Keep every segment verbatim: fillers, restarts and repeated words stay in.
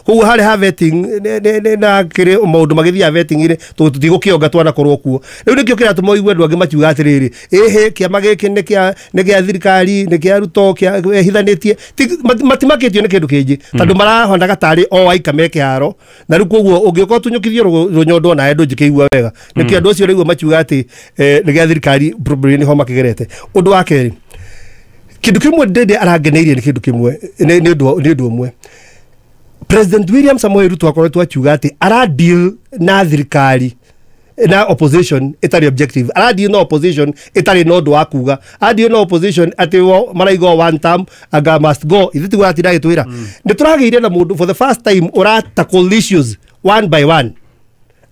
Koguo harĩ ha vetting na kĩrĩ maũndũ magĩthiaga vetting rĩ, tũtigũkĩonga twanakorwo kuo. Rĩu nĩkĩo kĩratũma ũigue andũ angĩ makiuga atĩrĩrĩ, ĩhĩ kĩama gĩkĩ nĩ kĩa nĩ kĩa thirikari, nĩ kĩa Ruto, kĩa ehithanĩtie. Matimakĩtio nĩ kĩndũ kĩngĩ tondũ marahonaga tarĩ o aika me kĩharo, na rĩu koguo ũngĩũka ũtunyũkithio rũnyondo nawe ndũngĩkĩigua wega. Nĩkĩo andũ acio rĩu makiuga atĩ nĩ gĩa thirikari probably nĩho makĩgerete. Ũndũ wa kerĩ, kĩndũ kĩmwe Ndindi arangeneirie nĩ kĩndũ kĩmwe, nĩ ũndũ ũmwe. President William Samoei Ruto akoretwo akiuga atĩ ara deal na thirikari na opposition ĩtarĩ objective, ara deal na opposition ĩtarĩ na ũndũ wa kuga, ara deal na opposition atĩ maraiga one term anga must go. Ithuĩ tiguo aratinda agĩtwĩra. Nĩ tũragĩire na mũndũ for the first time ũra tackle issues one by one,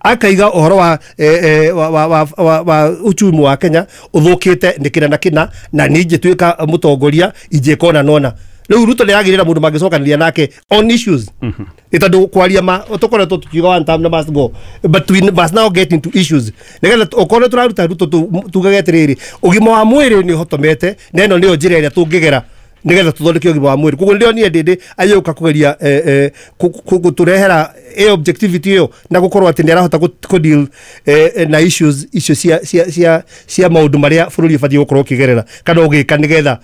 akaiga ũhoro wa eh, wa, wa, wa, wa, wa uchumi wa Kenya ũthũkĩte nĩ kĩna na kĩna, na niĩ ingĩtuĩka mũtongoria ingĩka ũna na ũna. Rĩu Ruto nĩ aragĩrĩra mũndũ mangĩcokanĩria nake on issues, nĩ tondũ kwaria ma tũkoretwo tukiuga one term na must go, but we must now get into issues nĩgetha okorwo tũraruta Ruto tugage atĩrĩrĩ, ũgima wa mwĩrĩ nĩ ũhotomete na ĩno nĩyo njĩra ĩrĩa tũngĩgera nĩgetha tũthondeke ũgima wa mwĩrĩ. Koguo nĩndĩronire Ndindi agĩũka kũgeria gũtũrehera ĩyo objectivity ĩyo na gũkorwo atĩ nĩ arahota kũ deal na issues icio cia cia cia cia maũndũ marĩa bũrũri ũbatiĩ gũkorwo ũkĩgerera kana ũgĩka nĩgetha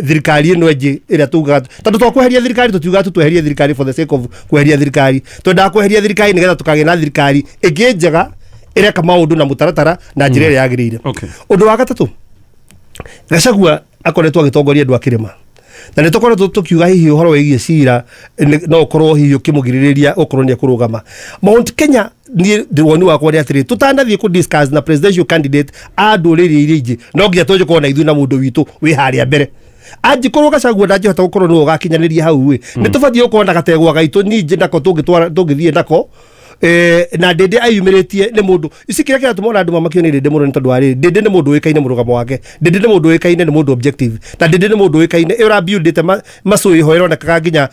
thirikari ĩno ĩngĩ ĩrĩa tugaga, tondũ twakweheria thirikari tũtiugaga tu tweherie thirikari for the sake of kweheria thirikari, twendaga kweheria thirikari nĩgetha tũkagĩa na thirikari ĩngĩ njega ĩreka maũndũ na mũtaratara na njĩra ĩrĩa yagĩrĩire. Ũndũ wa gatatũ, Gachagua akoretwo agĩtongoria andũ a kĩrĩma, na nĩ tũkoretwo tũkiuga hihi ũhoro wĩgiĩ cira no ũkorwo hihi ũkĩmũgirĩrĩria ũkorwo nĩ ekũrũgama. Mount Kenya, niĩ woni wakwa nĩ atĩrĩ, tũtanathiĩ kũ discuss na presidential candidate a ndũrĩrĩ iria ingĩ, no nginya tũnjĩkorwo na ithuĩ na mũndũ witũ wĩ harĩa mbere. Angĩkorwo Gachagua ndangĩhota gũkorwo nĩwe ũgakinyanĩria hau ĩ, nĩ tũbatiĩ gũkorwo na gategwa gaitũ ningĩ nako tũngĩthiĩ nako. Eh, na Ndindi ayumĩrĩtie nĩ mũndũ ici kĩrĩa kĩratũma ona andũ mamakio nĩ Ndindi mũno nĩ tondũ wa rĩrĩ, Ndindi nĩ mũndũ ũĩkaine mũrũgamo wake, Ndindi nĩ mũndũ ũĩkaine nĩ mũndũ objective, na Ndindi nĩ mũndũ ũĩkaine ĩ ũrabuildĩte macũĩ ho ĩronekaga nginya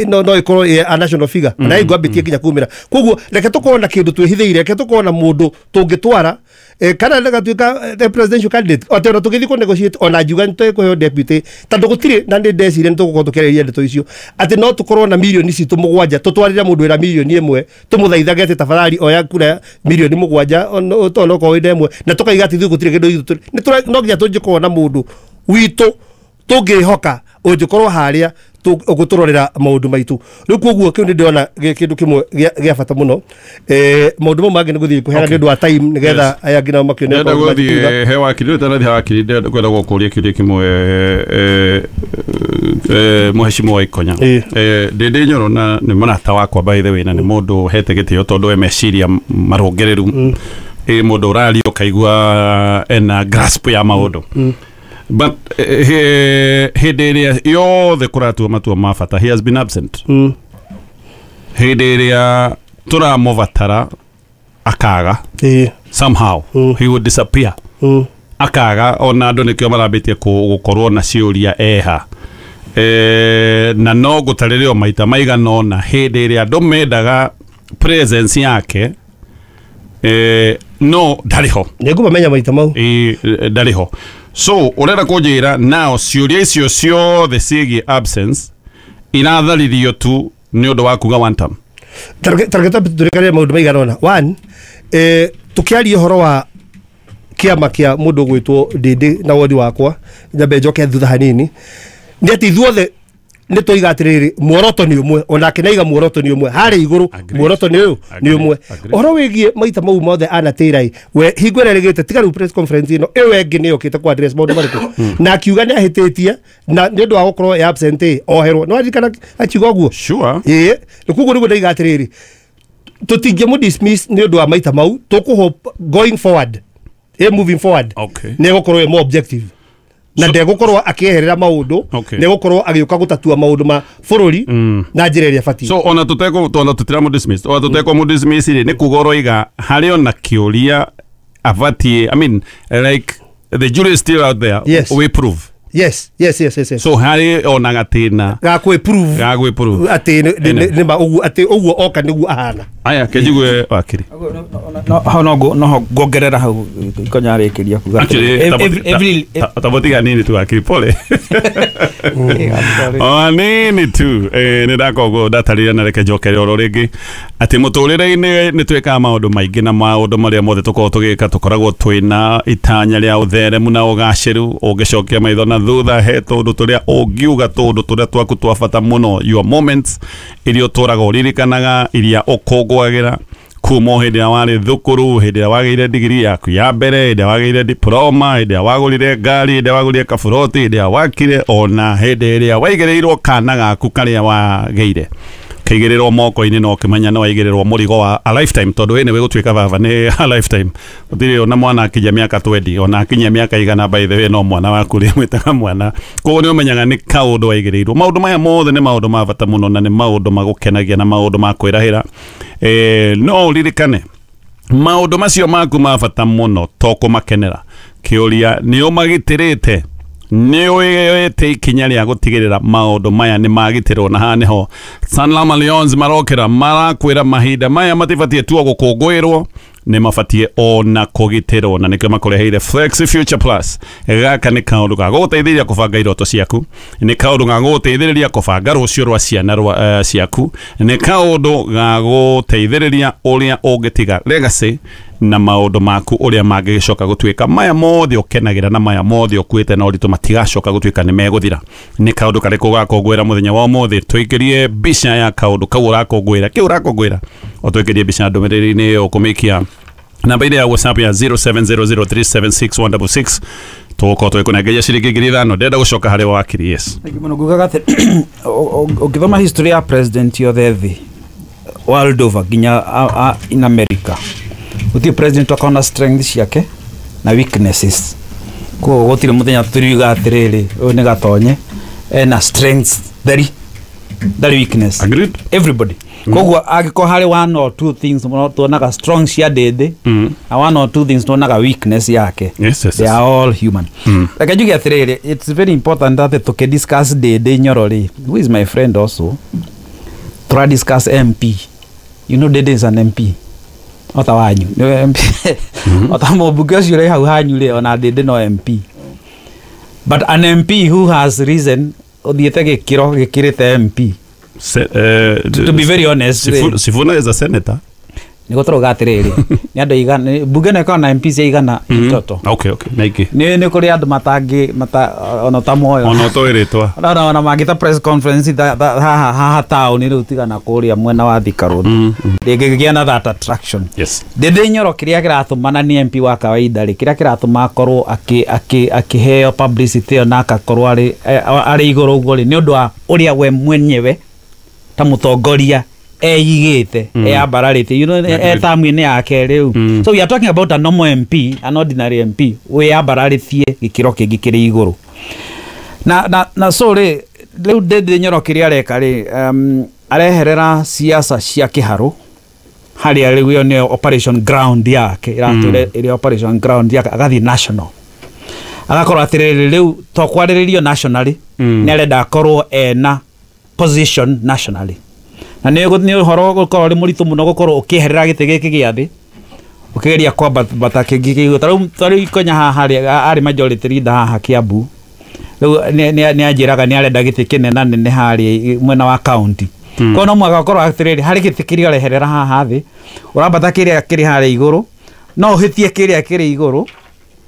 no no ĩkorwo a national figure na ĩngwambĩtie nginya kumĩra. Koguo reke tũkorwo na kĩndũ twĩhithĩire, reke tũkorwo na mũndũ tũngĩtwara kana ndagatuĩka the presidential candidate atĩ ona tũgĩthiĩ kũ negotiate ona ngiuga nĩ tũkũheo deputy, tondũ gũtirĩ na nĩ ndeciria nĩ tũgũkorwo tũkĩarĩria ndeto icio atĩ no tũkorwo na mirioni citũ mũgwanja tũtwarĩre mũndũ wĩra mirioni ĩmwe tũmũthaithage atĩ tafadhali oya kura mirioni mũgwanja onokorwo wĩna ĩmwe, na tũkaiga atĩ ithuĩ gũtirĩ kĩndũ ithuĩ no nginya tũngĩkorwo na mũndũ witũ tũngĩhoka ũngĩkorwo harĩa ũgũtũrorera maũndũ maitũ. Rĩu koguo kĩu nĩ ndĩrona kĩndũ kĩmwe gĩa bata mũno. Maũndũ mau mangĩ nĩ gũthiĩ kũheana nĩ ũndũ wa time nĩgetha aya angĩ nao makĩone. Ndĩrenda gũthiĩ he wakiri, rĩu ũtanathiĩ he wakiri ndĩrenda kwenda gũkũria kĩũria kĩmwe mũheshimiwa Ikonya. Ndindi Nyoro na nĩ mũrata wakwa by the way, na nĩ mũndũ ũhete gĩtĩo tondũ e meciria marũngĩrĩru, ĩ mũndũ ũraria ũkaigua ena grasp ya maũndũ. But hĩndĩ ĩrĩa yothe kũratua matua ma bata, he has been absent. Hĩndĩ ĩrĩa tũramũbatara akaga, somehow he would disappear, akaga. Ona andũ nĩkĩo marambĩtie gũkorwo na ciũria eha, na no ngũtarĩrio maita maigana ũna hĩndĩ ĩrĩa andũ mendaga presence yake, no ndarĩ ho. Nĩngũmamenya maita mau. Ndarĩ ho. So ũrenda kũnjĩra nao ciũria icio ciothe ciĩgiĩ absence iratharirio tu nĩ ũndũ wa kuga one term? Tareke tũrĩkanĩre maũndũ maigana ũna. One, tũkĩaria ũhoro wa kĩama kĩa mũndũ ũgwĩtwo Ndindi na woni wakwa, nyambe njoke thutha hanini, nĩ atĩ ithuothe nĩ tũiga atĩrĩrĩ, muoroto nĩ ũmwe, onake nĩaiga muoroto nĩ ũmwe harĩa igũrũ, muoroto nĩ ũyũ nĩ ũmwe. Ũhoro wĩgiĩ maita mau mothe anatĩra we hingo ĩrĩa ĩrĩgĩte tiga rĩu press conference ĩno ĩyo ĩngĩ nĩ yũkĩte kũ address maũndũ marĩkũ, na akiuga nĩ ahĩtĩtie na nĩ ũndũ wa gũkorwo ĩ absent oherwo. Nĩ waririkana akiuga ũguo? Sure. Ĩĩ, koguo nĩguo ndaiga atĩrĩrĩ, tũtingĩmũ dismiss nĩ ũndũ wa maita mau, tũkũ going forward, ĩ moving forward nĩ egũkorwo ĩ more objective na ndegũkorwo akĩeherera maũndũ, nĩegũkorwo agĩũka gũtatua maũndũ ma bũrũri na njĩra ĩrĩa ĩbatiĩ. So ona tũtekũ ona tũtiramũ dismiss, ona tũtekũ dismiss rĩ, nĩ kuga ũroiga harĩ ona kĩũria abatiĩ, I mean like the jury is still out there. Yes. We prove. Yes, yes, yes, yes, yes. So harĩ ona gatĩna ga kwĩ-prove, ga kwĩ-prove atĩ nĩ ma ũguo, atĩ ũguo oka nĩguo ahana. Aya kenjigue wakiri. No hau no no ngongerera hau Ikonya arĩkĩria kuga every tabotiga nini tu wakiri pole. O hanini tu eh, nä ndakorwo ndatarire na reke njokere oro rĩngĩ atĩ mũtũrĩre-inĩ nĩ twĩkaga maũndũ maingĩ na maũndũ marĩa mothe tũkoragwo tũgĩka tũkoragwo twĩna itanya rĩa ũtheremu na ũgacĩru. Ũngĩcokia maitho na thutha he tũndũ tũrĩa ũngiuga tũndũ tũrĩa twaku twa bata mũno, your moments iria ũtũraga ũririkanaga, iria ũkũngũagĩra kuma o hĩndĩ ĩrĩa warĩ thukuru, hĩndĩ ĩrĩa wagĩire digiri yaku ya mbere, hĩndĩ ĩrĩa wagĩire diploma, hĩndĩ ĩrĩa wagũrire ngari, hĩndĩ ĩrĩa wagũrire kaburoti, hĩndĩ ĩrĩa wakire, ona hĩndĩ ĩrĩa waigĩrĩirwo kana gaku karĩa wagĩire kaigĩrĩrwo moko-inĩ na ũkĩmenya nĩ waigĩrĩrwo mũrigo wa a lifetime, tondũ ĩ nĩwe gũtuĩka baba nĩ a lifetime. Gũtirĩ ona mwana akinyia mĩaka twendi, ona akinyia mĩaka igana, by the way no mwana waku rĩ mwĩtaga mwana, koguo nĩ ũmenyaga nĩ kaũndũ waigĩrĩirwo. Maũndũ maya mothe nĩ maũndũ ma bata mũno na nĩ maũndũ magũkenagia na maũndũ ma kwĩrahĩra. Eh, no ũririkane maũndũ macio maku ma bata mũno to kũmakenera. Kĩũria nĩ ũmagitĩrĩte, nĩ ũĩte ikinya rĩa gũtigĩrĩra maũndũ maya nĩ magitĩrwo, na haha nĩho Sanlam Alliance marokĩra marakwĩra mahinda maya matibatiĩ tu gũkũngũĩrwo, nĩ mabatiĩ ona kũgitĩrwo, na nĩkĩo makũreheire Flexi Future Plus. Gaka nĩ kaũndũ ga gũgũteithĩrĩria kũbanga iroto ciaku, nĩ kaũndũ ga gũgũteithĩrĩria kũbanga rũciũ rwa ciana rwa uh, ciaku, nĩ kaũndũ ga gũteithĩrĩria ũrĩa ũngĩtiga legacy na maũndũ maku ũrĩa mangĩgĩcoka gũtuĩka. Maya mothe ũkenagĩra na maya mothe ũkuĩte na ũritũ matigacoka gũtuĩka nĩ megũthira. Nĩ kaũndũ karĩkũ ũgakũngũĩra mũthenya wa ũmũthĩ? Tũikĩrie mbica ya kaũndũ kau ũrakũngũĩra, kĩu ũrakũngũĩra, ũtũikĩrie mbica ndũmĩrĩri-inĩ ĩyo ũkũmĩikia namba ile ya WhatsApp ya zero seven zero zero three seven six one six six. Tũgũkorwo tũgĩkũnengeria ciringi ngiri ithano. Ndĩrenda gũcoka harĩ wakiri. Yes, thank you mũno. Ngugaga atĩ ũngĩthoma history ya president yothe thĩ world over nginya in America, gũtirĩ president akona strength ciake na weaknesses. Koguo gũtirĩ mũthenya tũriuga atĩrĩrĩ ũyũ nĩ gatonye ena strengths theri ndarĩ weakness. Agreed. Everybody. Koguo angĩkorwo harĩ one or two things mũno tuonaga strong cia Ndĩndĩ na one or two things tuonaga weakness yake. Yes, yes, They yes. are all human. Reke njuge atĩrĩrĩ, it's very important that tũkĩdiscuss Ndĩndĩ Nyoro rĩ, who is my friend also, tũra discuss M P. You know Ndĩndĩ is an M P. Ota wanyu nĩwe M P. Ota mũmbunge ũcio ũrĩ hau hanyu rĩ, ona Ndĩndĩ no M P. But an M P who has risen ũthiĩte gĩkĩro gĩkĩrĩte M P. Se, uh, To, to be very honest, Sifuna, Sifuna is a senator. Nĩ gũtũrũga atĩrĩrĩ, nĩ andũ igana, mbunge ĩno ĩkoragwo na M P cia igana itoto. Okay, okay, naingĩ. Nĩ nĩ kũrĩ andũ matangĩ mata ona ũtamoyo. Ona ũtoĩ rĩtwa. Ona ona mangĩta press conference tha, tha, haha haha taũni rĩu tigana kũrĩa mwena wa Thika Road. Ndĩngĩgĩa na that attraction. Yes. Ndĩndĩ Nyoro kĩrĩa kĩratũma na nĩ M P wa kawaida rĩ, kĩrĩa kĩratũma akorwo akĩ akĩ akĩheo publicity ĩyo na akakorwo arĩ arĩ igũrũ ũguo rĩ, nĩ ũndũ wa ũrĩa we mwenyewe ta mũtongoria eigĩte, eyambararĩte, you know, e tamu-inĩ yake rĩu. So we are talking about a normal M P, an ordinary M P wĩyambararĩtie gĩkĩro kĩngĩ kĩrĩ igũrũ. Na na na so rĩ, rĩu Ndĩndĩ Nyoro kĩrĩa areka rĩ, um, areherera siasa cia kĩharũ harĩa rĩu ĩyo nĩyo operation ground yake, ĩratũre ĩrĩ operation ground yake, agathiĩ national. Agakorwo atĩrĩrĩ rĩu to kwarĩrĩrio nationally, nĩ arenda akorwo ena position nationally. Na nĩ nĩ ũhoro gũkorwo ũrĩ mũritũ mũno gũkorwo ũkĩeherera gĩtĩ gĩkĩ gĩa thĩ ũkĩgeria kwambata kĩngĩ kĩa igũrũ. Ta rĩu ta rĩu Ikonya haha harĩ arĩ majority leader haha Kiambu, rĩu nĩ anjĩraga nĩ arenda gĩtĩ kĩnena nene harĩa mwena wa county. Koguo no mũhaka ũkorwo atĩrĩrĩ harĩ gĩtĩ kĩrĩa ũreherera haha thĩ, ũrambata kĩrĩa kĩrĩ harĩa igũrũ, no ũhĩtie kĩrĩa kĩrĩ igũrũ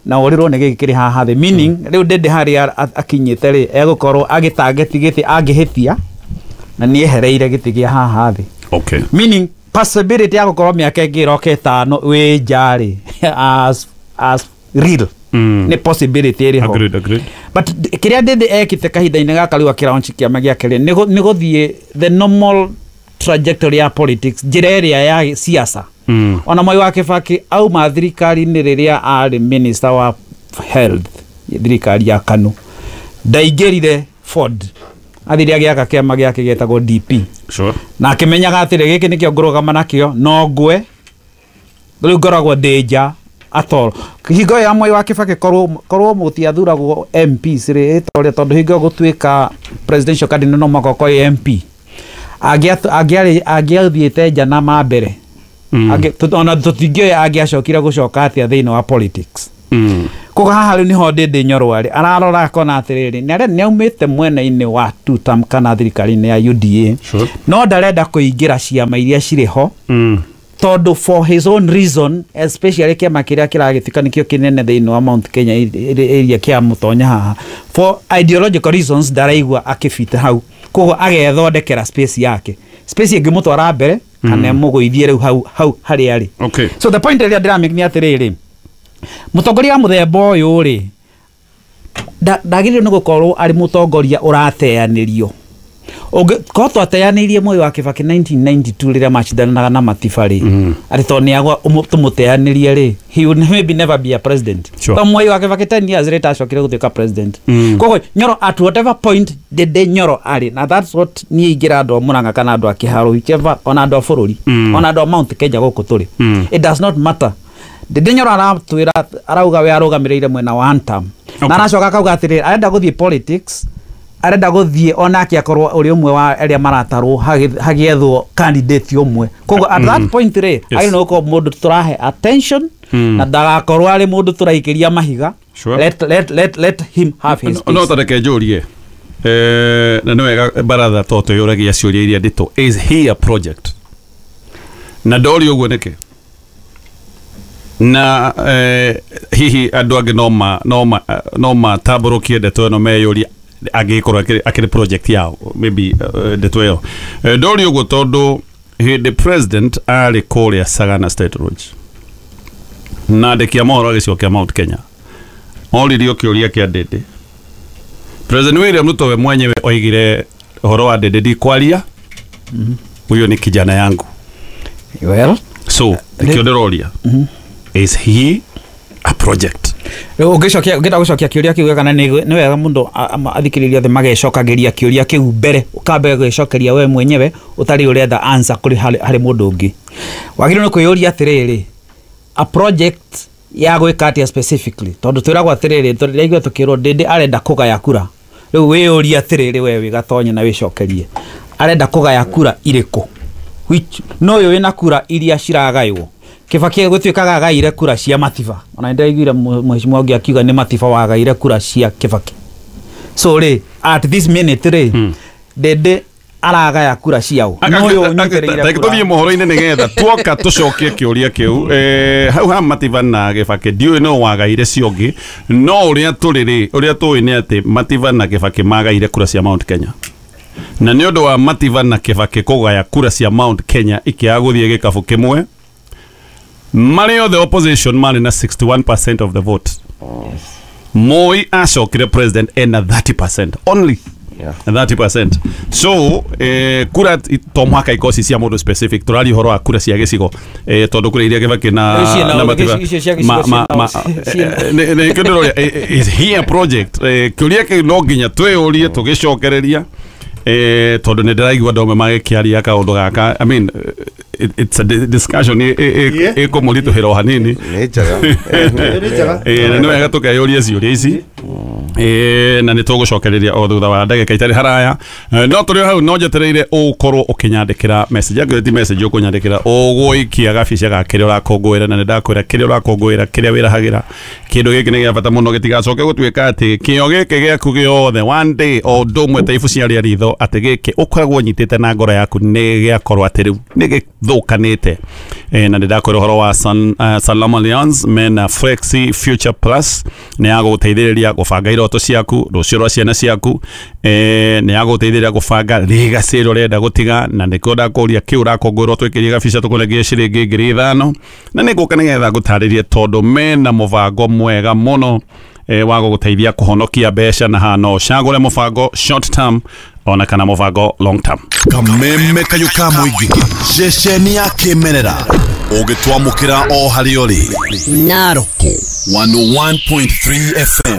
na ũrĩrwo nĩ gĩkĩ kĩrĩ haha thĩ. Meaning rĩu Ndĩndĩ harĩa akinyĩte rĩ, egũkorwo agĩtangeti gĩtĩ angĩhĩtia na nĩ ehereire gĩtĩ gĩa haha thĩ. Okay. Meaning possibility ya gũkorwo mĩaka ĩngĩ ĩroka ĩtano wĩ nja rĩ, as as real. Mm. Nĩ possibility ĩrĩ ho. Agreed, agreed. But kĩrĩa Ndĩndĩ ekĩte kahinda-inĩ gaka rĩu akĩlaunch kĩama gĩake rĩ, nĩ gũthiĩ the normal trajectory ya politics, njĩra ĩrĩa ya siasa. Mm. Ona Mwai wa Kibaki auma thirikari-inĩ rĩrĩa arĩ minister wa health thirikari ya KANU, ndaingĩrire Ford, athire agĩaka kĩama gĩake gĩetagwo D P. Sure. Na akĩmenyaga atĩrĩ gĩkĩ nĩkĩo ngũrũgama nakĩo, no ngwe rĩu ngoragwo ndĩ nja at all. Hingo ya Mwai wa Kibaki korwo korwo mũtiathuragwo M Ps rĩ, ĩtorĩa tondũ hingo gũtuĩka presidential candidate no mũhaka ũkorwo M P, angĩarĩ angĩathiĩte nja na ma mbere. Mm. Ona tũtingĩoya angĩacokire gũcoka atĩa thĩinĩ wa politics. Mm. Koguo haha rĩu nĩho Ndĩndĩ Nyoro arĩ ararora akona atĩrĩrĩ nĩ arĩa nĩaumĩte mwena-inĩ wa two term kana thirikari-inĩ ya U D A. Sure. No ndarenda kũingĩra ciama iria cirĩ ho mm. tondũ for his own reason, especially kĩama kĩrĩa kĩragĩtuĩka nĩkĩo kĩnene thĩinĩ wa Mount Kenya area kĩa Mũtonya haha, for ideological reasons ndaraigua akĩbita hau, koguo agethondekera space yake, space ĩngĩmũtwara mbere kana ĩmũgũithie rĩu hau hau harĩa arĩ. Okay. So the point ĩrĩa ndĩramake nĩ atĩrĩrĩ, mũtongoria wa mũthemba ũyũ rĩ ndagĩrĩirwo nĩ gũkorwo arĩ mũtongoria ũrateanĩrio. Korwo twateanĩirie Moi wa Kibaki nineteen ninety-two rĩrĩa macindanaga na Matiba rĩ, atĩ tondũ nĩagwa tũmũteanĩrie rĩ, he would maybe never be a president. Sure. Tondũ Moi wa Kibaki ten years later acokire gũtuĩka president. Mm. Koguo Nyoro at whatever point Ndĩndĩ Nyoro arĩ, na that's what niĩ ingĩra andũ a Mũrang'a kana andũ a Kĩharũ, whichever, ona andũ a bũrũri, Mm. ona andũ a Mount Kenya gũkũ tũrĩ. Mm. It does not matter. Ndĩndĩ Nyoro aratwĩra arauga we arũgamĩrĩire mwena wa Antam. Okay. Na aracoka akauga atĩrĩrĩ arenda gũthiĩ politics, arenda gũthiĩ onake akorwo ũrĩ ũmwe wa arĩa maratarwo hagĩethwo candidate ũmwe. Koguo at that point rĩ, Yes. agĩrĩirwo nĩ gũkorwo mũndũ tũrahe attention Mm. na ndagakorwo arĩ mũndũ tũraikĩria mahiga. Sure. Let, let, let, let him have his No space. tareke njũrie eh, na nĩ wega baratha to twĩyũragia ciũria iria nditũ, is he a project? Na ndoria ũguo nĩkĩ? Na eh, hihi andũ angĩ no ma no ma no matambũrũkie ndeto ĩno meyũrie angĩkorwo akĩrĩ akĩrĩ project yao maybe uh, ndeto ĩyo. Ndoria ũguo tondũ hĩndĩ president arĩ kũrĩa Sagana State Lodge na andĩki a mohoro a gĩcigo kĩa Mount Kenya oririo kĩũria kĩa Ndĩndĩ, President William Ruto we mwenyewe oigire ũhoro wa Ndĩndĩ ndikwaria, huyo ni kijana yangu. Well, so nĩkĩo ndĩroria, is he a project? Ũngĩcokia ũngĩenda gũcokia kĩũria kĩu kana nĩ wega mũndũ athikĩrĩria othe magecokagĩria kĩũria kĩu mbere, ũkambe gwĩcokeria we mwenyewe ũtarĩ ũretha answer kũrĩ harĩ mũndũ ũngĩ. Wagĩrĩirwo nĩ kwĩyũria atĩrĩrĩ, a project ya gwĩka atĩa specifically, tondũ twĩragwo atĩrĩrĩ, tũraigua tũkĩrwo Ndĩndĩ arenda kũgaya kura. Rĩu wĩyũrie atĩrĩrĩ we wĩ Gatonye na wĩcokerie, arenda kũgaya kura irĩkũ? Which no ũyũ wĩna kura iria ciragaywo. Kibaki gũtuĩkaga agaire kura cia Matiba, ona nĩndĩraiguire mheshimiwa ũngĩ akiuga nĩ Matiba wagaire kura cia Kibaki. So rĩ at this minute rĩ, Ndĩndĩ aragaya kura ciao. No ũyũ ũnyitĩrĩire kura. Tũthiĩ mohoro-inĩ nĩgetha tuoka tũcokie kĩũria kĩu. Eh, hau ha Matiba na Kibaki ndiũĩ no wagaire cio ũngĩ, no ũrĩa tũrĩ rĩ, ũrĩa tũĩ nĩ atĩ Matiba na Kibaki magaire kura cia Mount Kenya. Na nĩ ũndũ wa Matiba na Kibaki kũgaya kura cia Mount Kenya ikĩaga gũthiĩ gĩkabũ kĩmwe, marĩ othe opposition marĩ na sixty-one percent of the vote. Moi acokire president ena thirty percent only. Yeah. thirty percent. So eh, kura to mwaka ikosi cia mũndũ specific, tũraria ũhoro wa kura cia gĩcigo eh, tondũ kũrĩ iria Kibaki na na Matiba ma ma ma nĩ kĩndũ is he a project? Kĩũria kĩu no nginya twĩyũrie tũgĩcokereria eh, tondũ nĩ ndĩraigua andũ amwe magĩkĩaria kaũndũ gaka. I mean it, it's a discussion ĩkũmũritũhĩra o hanini. Nĩ njega. Nĩ wega tũkeyũria ciũria ici na nĩ tũgũcokereria o thutha wa ndagĩka itarĩ haraya. No tũrĩ hau no njetereire ũkorwo ũkĩnyandĩkĩra message, angĩkorwo ti message ũkũnyandĩkĩra ũgũikia gabica ga kĩrĩa ũrakũngũĩra, na nĩ ndakwĩra kĩrĩa ũrakũngũĩra, kĩrĩa wĩrahagĩra, kĩndũ gĩkĩ nĩ gĩa bata mũno gĩtigacoke gũtuĩka atĩ kĩo gĩkĩ gĩaku gĩothe one day o ũndũ ũmwe ta ibu cia rĩa ritho atĩ gĩkĩ ũkoragwo ũnyitĩte na ngoro yaku nĩ gĩakorwo atĩ rĩu nĩ gĩthũkanĩte. Na nĩ ndakwĩra ũhoro wa San, uh, Salam Alliance mena Flexi Future Plus nĩ ya gũgũteithĩrĩria gũbanga iroto ciaku, rũciũ rwa ciana ciaku, eh, nĩ ya gũgũteithĩrĩria gũbanga legacy ĩrĩa ũrenda gũtiga, na nĩkĩo ndakũria kĩu ũrakũngũĩrwo twĩkĩrie gabica tũkũnengere ciringi ngiri ithano, na nĩ ngũka nĩgetha ngũtarĩrie tondũ mena mũbango mwega mũno eh, wa gũgũteithia kũhonokia mbeca, na haha no ũcagũre mũbango short term ona kana mũbango long term. Kameme kayũ ka mũingĩ ceceni ya kĩmerera ũgĩtwamũkĩra o harĩa ũrĩ Narok one oh one point three F M.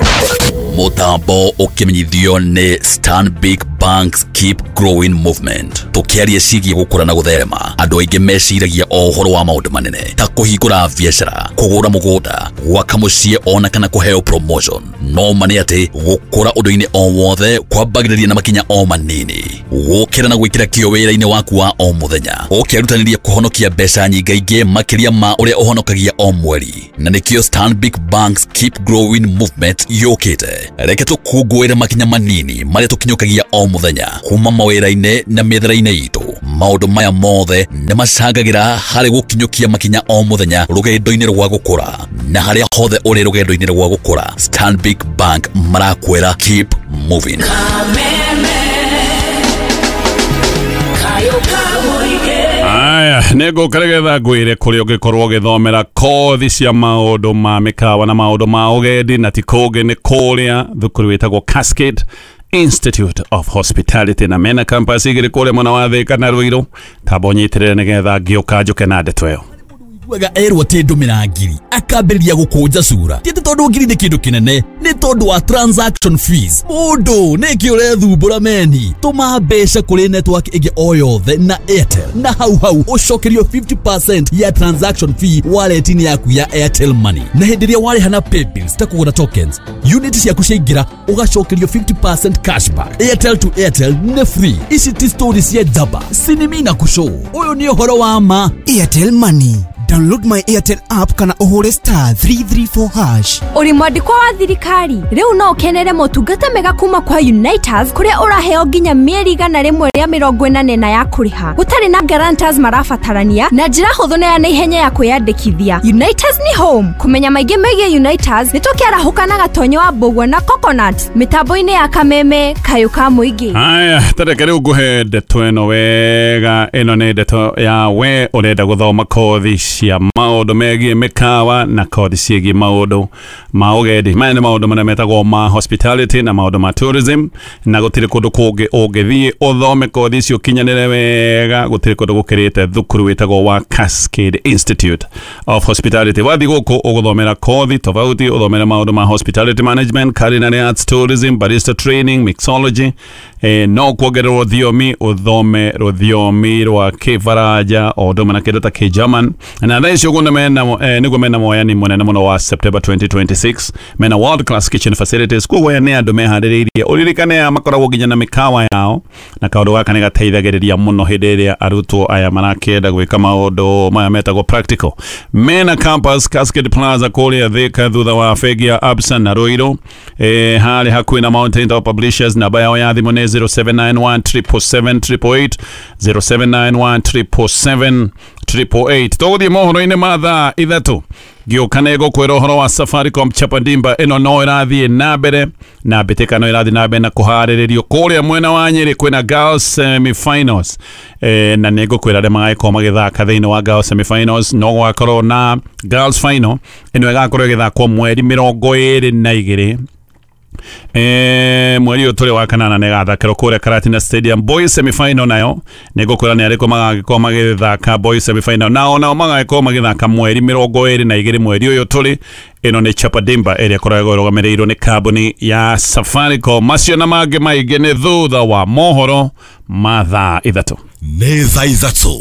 Mũtambo ũkĩmenyithio nĩ Stanbic Bank. Bank's Keep Growing Movement. Tũkĩaria ciĩgiĩ gũkũra na gũtherema, andũ aingĩ meciragia o ũhoro wa maũndũ manene ta kũhingũra biacara, kũgũra mũgũnda, gwaka mũciĩ ona kana kũheo promotion. No ma nĩ atĩ gũkũra ũndũ-inĩ o wothe kwambagĩrĩria na makinya o manini. Gũkĩra na gwĩkĩra kĩyo wĩra-inĩ waku wa o mũthenya, ũkĩrutanĩria kũhonokia mbeca nyingaingĩ makĩria ma ũrĩa ũhonokagia o mweri. Na nĩkĩo Stanbic Bank's Keep Growing Movement yũkĩte. Reke tũkũngũĩre makinya manini marĩa tũkinyũkagia o mũthenya kuma mawĩra-inĩ na mĩethere-inĩ itũ. Maũndũ maya mothe nĩ macangagĩra harĩ gũkinyũkia makinya o mũthenya rũgendo-inĩ rwa gũkũra. Na harĩa hothe ũrĩ rũgendo-inĩ rwa gũkũra, Stanbic Bank marakwĩra keep moving. Aya, nĩ ngũka nĩgetha ngwĩre kũrĩa ũngĩkorwo ũgĩthomera kothi cia maũndũ ma mĩkawa na maũndũ ma ũgendi, na ti kũngĩ nĩ kũrĩa thukuru wĩtagwo Cascade Institute of Hospitality, na mena campus igĩrĩ kũrĩa mwena wa Thĩka na Ruiru. Tamba ũnyitĩrĩre nĩgetha ngĩũka njũke na ndeto ĩyo. Wega erwo atĩ ndũmĩra ngiri akambĩrĩria gũkũnja cura. Ti atĩ tondũ ngiri nĩ kĩndũ kĩnene, nĩ tondũ wa transaction fees. Mũndũ nĩkĩ ũrethumbũra meni? Tũma mbeca kũrĩ network ĩngĩ o yothe na Airtel, na hau hau ũcokerio fifty percent ya transaction fee wallet-inĩ yaku ya Airtel Money. Na hĩndĩ ĩrĩa warĩha na paybills ta kũgũra tokens, unit ciaku ciaingĩra ũgacokerio fifty percent cashback. Airtel to Airtel nĩ free. Ici ti story cia njamba, sinimi na kũcũ. Ũyũ nĩ ũhoro wa ma. Airtel Money. Download my Airtel app kana ũhũre star three three four hash. Ũrĩ mwandĩkwa wa thirikari rĩu no ũkenere motungata mega kuma kwa Uniters, kũrĩa ũraheo nginya mĩeri igana rĩmwe rĩa mĩrongo ĩnana na ya kũrĩha gũtarĩ na guarantors marabatarania, na njĩra hũthũ na ya naihenya ya kwĩyandĩkithia. Uniters ni home. Kũmenya maingĩ megiĩ Uniters nĩ tũkĩarahũka na Gatonyo wa Mbũgua na Coconut mĩtambo-inĩ ya Kameme kayũ ka mũingĩ. Aya, tareke rĩu ngũhe ndeto ĩno wega. Ĩno nĩ ndeto ya we ũrenda gũthoma kothi cia maũndũ megiĩ mĩkawa na kothi ciĩgiĩ maũndũ ma ũgendi. Maya nĩ maũndũ marĩa metagwo ma hospitality na maũndũ ma tourism, na gũtirĩ kũndũ kũngĩ ũngĩthiĩ ũthome kothi icio ũkinyanĩre wega, gũtirĩ kũndũ gũkĩrĩte thukuru wĩtagwo wa Cascade Institute of Hospitality. Wathiĩ gũkũ ũgũthomera kothi tofauti, ũthomere maũndũ ma hospitality management, culinary arts, tourism, barista training, mixology, eh, no kuongererwo thiomi, ũthome rũthiomi rwa Kĩfaranja o ũndũ ũmwe na kĩndũ ta Kĩgerman. Na thaa ici ũguo nĩguo mena moyani mũnene mũno wa September twenty twenty-six. Mena world class kitchen facilities, koguo aya nĩ andũ meharĩrĩirie. Ũririkane aya makoragwo nginya na mĩkawa yao, na kaũndũ gaka nĩ gateithagĩrĩria mũno hĩndĩ ĩrĩa arutwo aya marakĩenda gwĩka maũndũ maya metagwo practical. Mena campus Cascade Plaza kũrĩa Thĩka thutha wa bengi ya Absa na Ruiru, eh, harĩ hakuhĩ na Mountain Top Publishers. Namba yao ya thimũ nĩ zero seven nine one triple seven triple eight, zero seven nine one triple seven triple eight. Tũgũthiĩ mohoro-inĩ ma thaa ithatũ ngĩũka nĩ ngũkwĩra ũhoro wa Safaricom Chapadimba. Ĩno no ĩrathiĩ na mbere na mbĩtĩka no ĩrathiĩ na mbere na kũharĩrĩrio kũrĩa mwena wa Nyĩrĩ. Kwĩna girls semi-finals, eh, na nĩ ngũkwĩra arĩa magagĩkorwo magĩthaka thĩinĩ wa girls semi-finals. No gũgakorwo na girls final ĩno ĩgakorwo ĩgĩthakwo mweri mĩrongo ĩrĩ na igĩrĩ Eh, mweri ũyũ tũrĩ wa kanana nĩ ĩgathakĩrwo kũrĩa Karatina Stadium. Boys semi-final nayo nĩ ngũkwĩra nĩ arĩkũ magagĩkorwo magĩthaka boys semi-final, nao nao magagĩkorwo magĩthaka mweri mĩrongo ĩrĩ na igĩrĩ mweri ũyũ tũrĩ. Ĩno nĩ Chapadimba ĩrĩa ĩkoragwo ĩrũgamĩrĩirwo nĩ kambuni ya Safaricom. Macio na mangĩ maingĩ nĩ thutha wa mohoro ma thaa ithatũ. Nĩ thaa ithatũ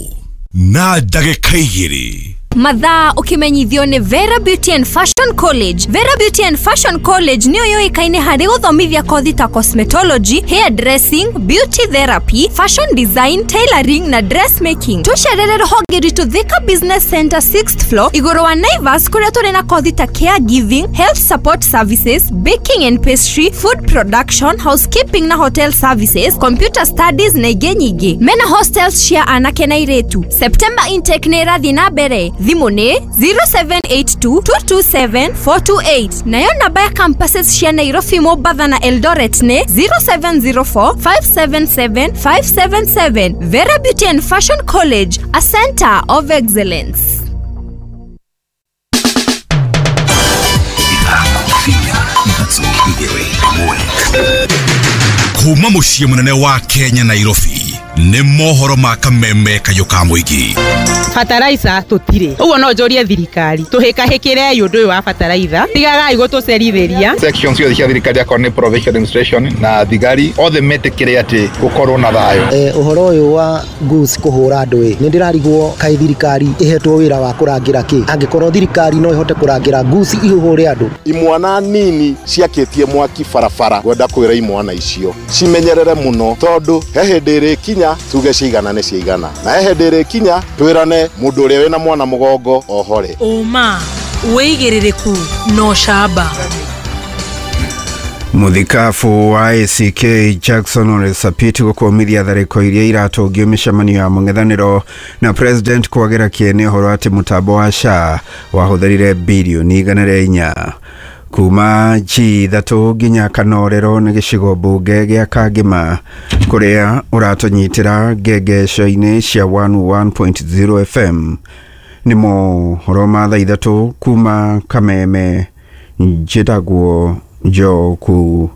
na ndagĩka igĩrĩ. Mathaa ũkĩmenyithio nĩ Vera Beauty and Fashion College. Vera Beauty and Fashion College nĩyo yũĩkaine harĩ gũthomithia kothi ta cosmetology, hair dressing, beauty therapy, fashion design, tailoring na dressmaking. Tũcerere rũhonge rwitũ Thika Business Center sixth floor igũrũ wa Naivas, kũrĩa tũrĩ na kothi ta caregiving, health support services, baking and pastry, food production, housekeeping na hotel services, computer studies na ingĩ nyingĩ. Mena hostels cia anake na airĩtu. September intake nĩ ĩrathiĩ na mbere. Thimũ nĩ zero seven eight two two two seven four two eight. Nayo namba ya campuses cia Nairobi, Mombasa na Eldoret nĩ zero seven zero four five seven seven five seven seven. Vera Beauty and Fashion College, a center of excellence. Kuma mũciĩ mũnene wa Kenya Nairobi Nĩ mohoro ma kameme kayũ ka mũingĩ. Bataraitha tũtirĩ. Ũguo no njũrie thirikari tũhĩkahĩkĩre ũndũ ũyũ wa bataraitha, tigagai gũtũcerithĩria. Section ciothe cia thirikari akorwo nĩ provincial administration na thigari othe metĩkĩre atĩ gũkorwo na thayũ. Eh, ũhoro ũyũ wa goose kũhũra andũ ĩ, nĩ ndĩrarigwo kaĩ thirikari ĩhetwo wĩra wa kũrangĩra kĩ, angĩkorwo thirikari no ĩhote kũrangĩra goose ihũre andũ. Imwana nini ciakĩtie mwaki barabara, ngwenda kwĩra imwana icio cimenyerere mũno, tondũ he hĩndĩ ĩrĩkinya tuge ciigana nĩ ciigana, na he hĩndĩ ĩrĩkinya twĩrane mũndũ ũrĩa wĩna mwana mũgongo ohore. Ũma wĩigĩrĩrĩku no camba. Muthikabu wa A C K Jackson Ole Sapit gukwomithia tharĩko iria iratũngio mĩcemanio ya mũng'ethanĩro na president kwagĩra kĩene ũhoro atĩ mũtambo wa S H A wahũthĩrire birioni igana rĩa inya kuma G ithatũ nginya Kanorero nĩ gĩcigo mbunge gĩa Kangĩma kũrĩa ũratũnyitĩra ngengesho-inĩ cia one one point zero F M. Nĩ mohoro ma thaa ithatũ kuma Kameme, njĩtagwo Njoku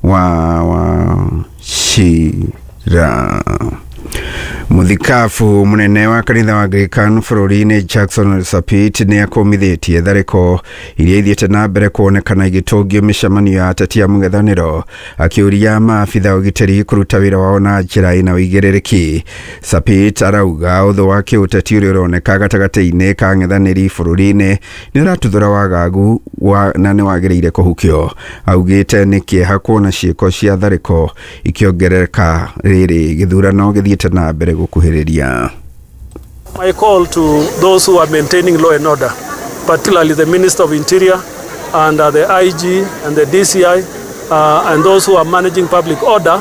wa wa Shira. Muthikabu munene wa kanitha wa Anglican bũrũri-inĩ Jackson Ole Sapit nĩ akomithĩtie tharĩko iria ithiĩte na mbere kuonekana igĩtũngio mĩcemanio ya ateti a mũng'ethanĩro, akĩũria maabitha ũgitĩri kũruta wĩra wao na njĩra ĩna ũigĩrĩrĩki. Sapit arauga ũthũ wa kĩũteti ũrĩa ũroneka gatagatĩ-inĩ ka ang'ethanĩri bũrũri-inĩ nĩ ũratuthũra wagagu wa, na nĩ wagĩrĩire kũhukio. Augĩte nĩ kĩeha kuona ciĩko cia tharĩko ikĩongerereka rĩrĩ gĩthurano gĩthiĩte na mbere gũkuhĩrĩria. My call to those who are maintaining law and order, particularly the Minister of Interior and uh, the I G and the D C I uh, and those who are managing public order,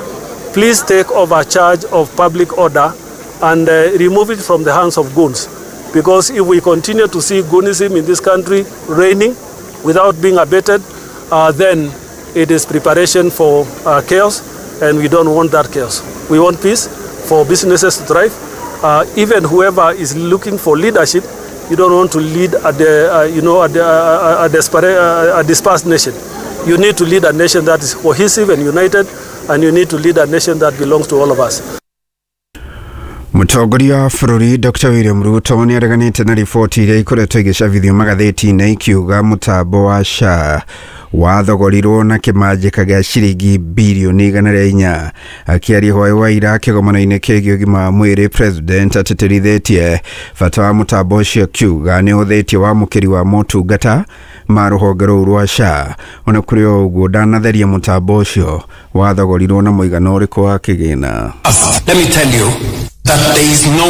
please take over charge of public order and uh, remove it from the hands of goons. Because if we continue to see goonism in this country reigning without being abated, uh, then it is preparation for uh, chaos, and we don't want that chaos. We want peace for businesses to thrive. Uh, even whoever is looking for leadership, you don't want to lead a, de, uh, you know, a, a, a, desperate, uh, a dispersed nation. You need to lead a nation that is cohesive and united, and you need to lead a nation that belongs to all of us. Mũtongoria wa bũrũri Doctor William Ruto nĩ areganĩte na riboti iria ikoretwo igĩcabithio magathĩti-inĩ ikiuga mũtambo wa S H A wathogorirwo na kĩmanjĩka gĩa ciringi birioni igana rĩa inya. Akĩaria hwaĩ wa ira kĩgomano-inĩ kĩgiĩ ũgima wa mwĩrĩ, president atĩtĩrithĩtie bata wa mũtambo ũcio akiuga nĩ ũhũthĩtie wamũkĩri wa motungata ma rũhonge rũu rwa S H A. Ona kũrĩ o ũguo ndanatheria mũtambo ũcio wathogorirwo na mũigana ũrĩkũ wa kĩgĩna. Let me tell you that there is no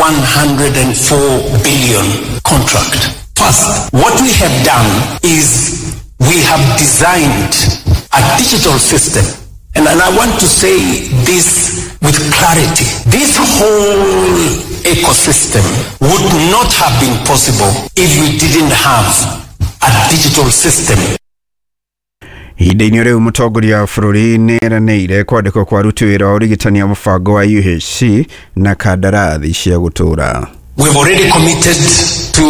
one hundred four billion contract. First, what we have done is we have designed a digital system. And, and I want to say this with clarity. This whole ecosystem would not have been possible if we didn't have a digital system. Ihinda-inĩ rĩu mũtongoria wa bũrũri nĩ eranĩire kwandĩkwo kwa aruti wĩra wa ũrigitani wa mũbango wa U H C na kandarathi cia gũtũũra. We've already committed to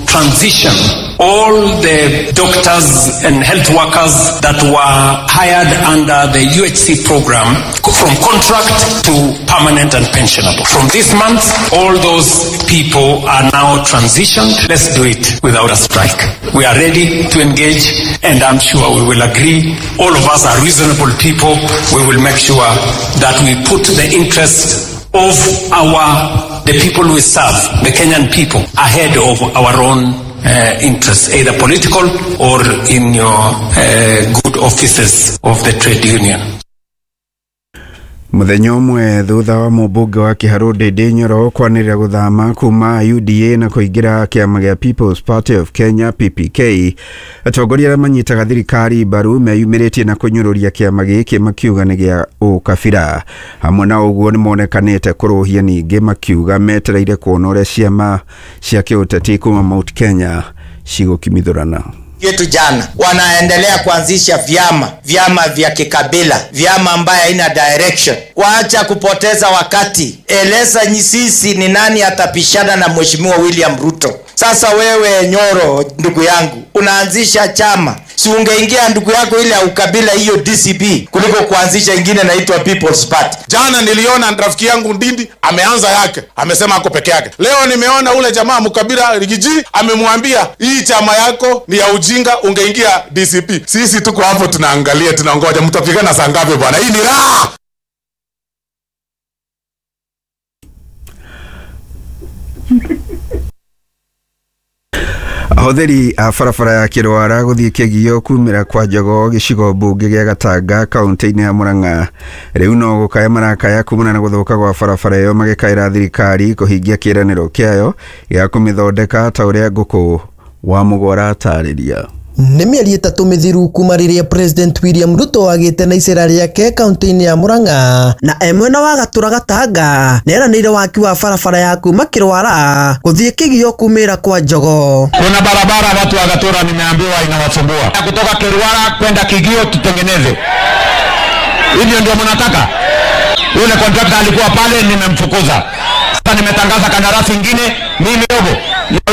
transition all the doctors and health workers that were hired under the U H C program from contract to permanent and pensionable. From this month, all those people are now transitioned. Let's do it without a strike. We are ready to engage, and I'm sure we will agree. All of us are reasonable people. We will make sure that we put the interest of our the people we serve, the Kenyan people, ahead of our own uh, interests, either political or in your uh, good offices of the trade union. Mũthenya ũmwe thutha wa mũmbunge wa Kĩharũ Ndĩndĩ Nyoro kwanĩrĩra gũthama kuma U D A na kũingĩra kĩama gĩa People's Party of Kenya P P K, atongoria arĩa manyitaga thirikari mbaru meyumĩrĩtie na kũnyũrũria kĩama gĩkĩ makiuga nĩ gĩa ũkabira. Hamwe na ũguo nĩ monekanĩte kũrũhia ningĩ makiuga metereire kuona ũrĩa ciama cia kĩũteti kuma Mount Kenya cigũkimithũrana. Yetu jana wanaendelea kuanzisha vyama vyama vya kikabila, vyama ambaye haina direction. Waacha kupoteza wakati, eleza sisi ni nani atapishana na Mheshimiwa William Ruto. Sasa wewe Nyoro, ndugu yangu, unaanzisha chama, si ungeingia ndugu yako ile ya ukabila hiyo D C P kuliko kuanzisha ingine inaitwa People's Party. Jana niliona rafiki yangu Ndindi ameanza yake, amesema ako peke yake. Leo nimeona ule jamaa mkabila Rigiji amemwambia hii chama yako ni ya ujinga, ungeingia D C P. Sisi tuko hapo tunaangalia, tunangoja mtapigana saa ngapi bwana. Hii ni raha. Ahũthĩri a barabara ya Kĩrwara gũthiĩ Kĩgio kumĩra kwa Jogoo gĩcigo mbunge gĩa Gatanga kaunti-inĩ ya Murang'a rĩu no gũkaya marakaya kumana na gũthũka gwa barabara ĩyo magĩkaĩra thirikari kũhingia kĩĩranĩro kĩayo gĩa kũmĩthondeka ta ũrĩa Ngũkũ wa Mũgwara atarĩria. Nĩ mĩeri ĩtatũ mĩthiru kuma rĩrĩa President William Ruto agĩte na icera rĩake kaunti-inĩ ya Murang'a na e mwena wa Gatura Gatanga nĩeranĩire waki wa barabara ya kuma Kĩrwara gũthiĩ Kĩgio kumĩra kwa Jogoo. Kuna barabara watu wa Gatura nimeambiwa inawasumbua. Kutoka Kĩrwara kwenda Kĩgio tutengeneze. Hivyo ndio mnataka? Yule contractor alikuwa pale nimemfukuza. Sasa nimetangaza kandarasi nyingine mimi robo.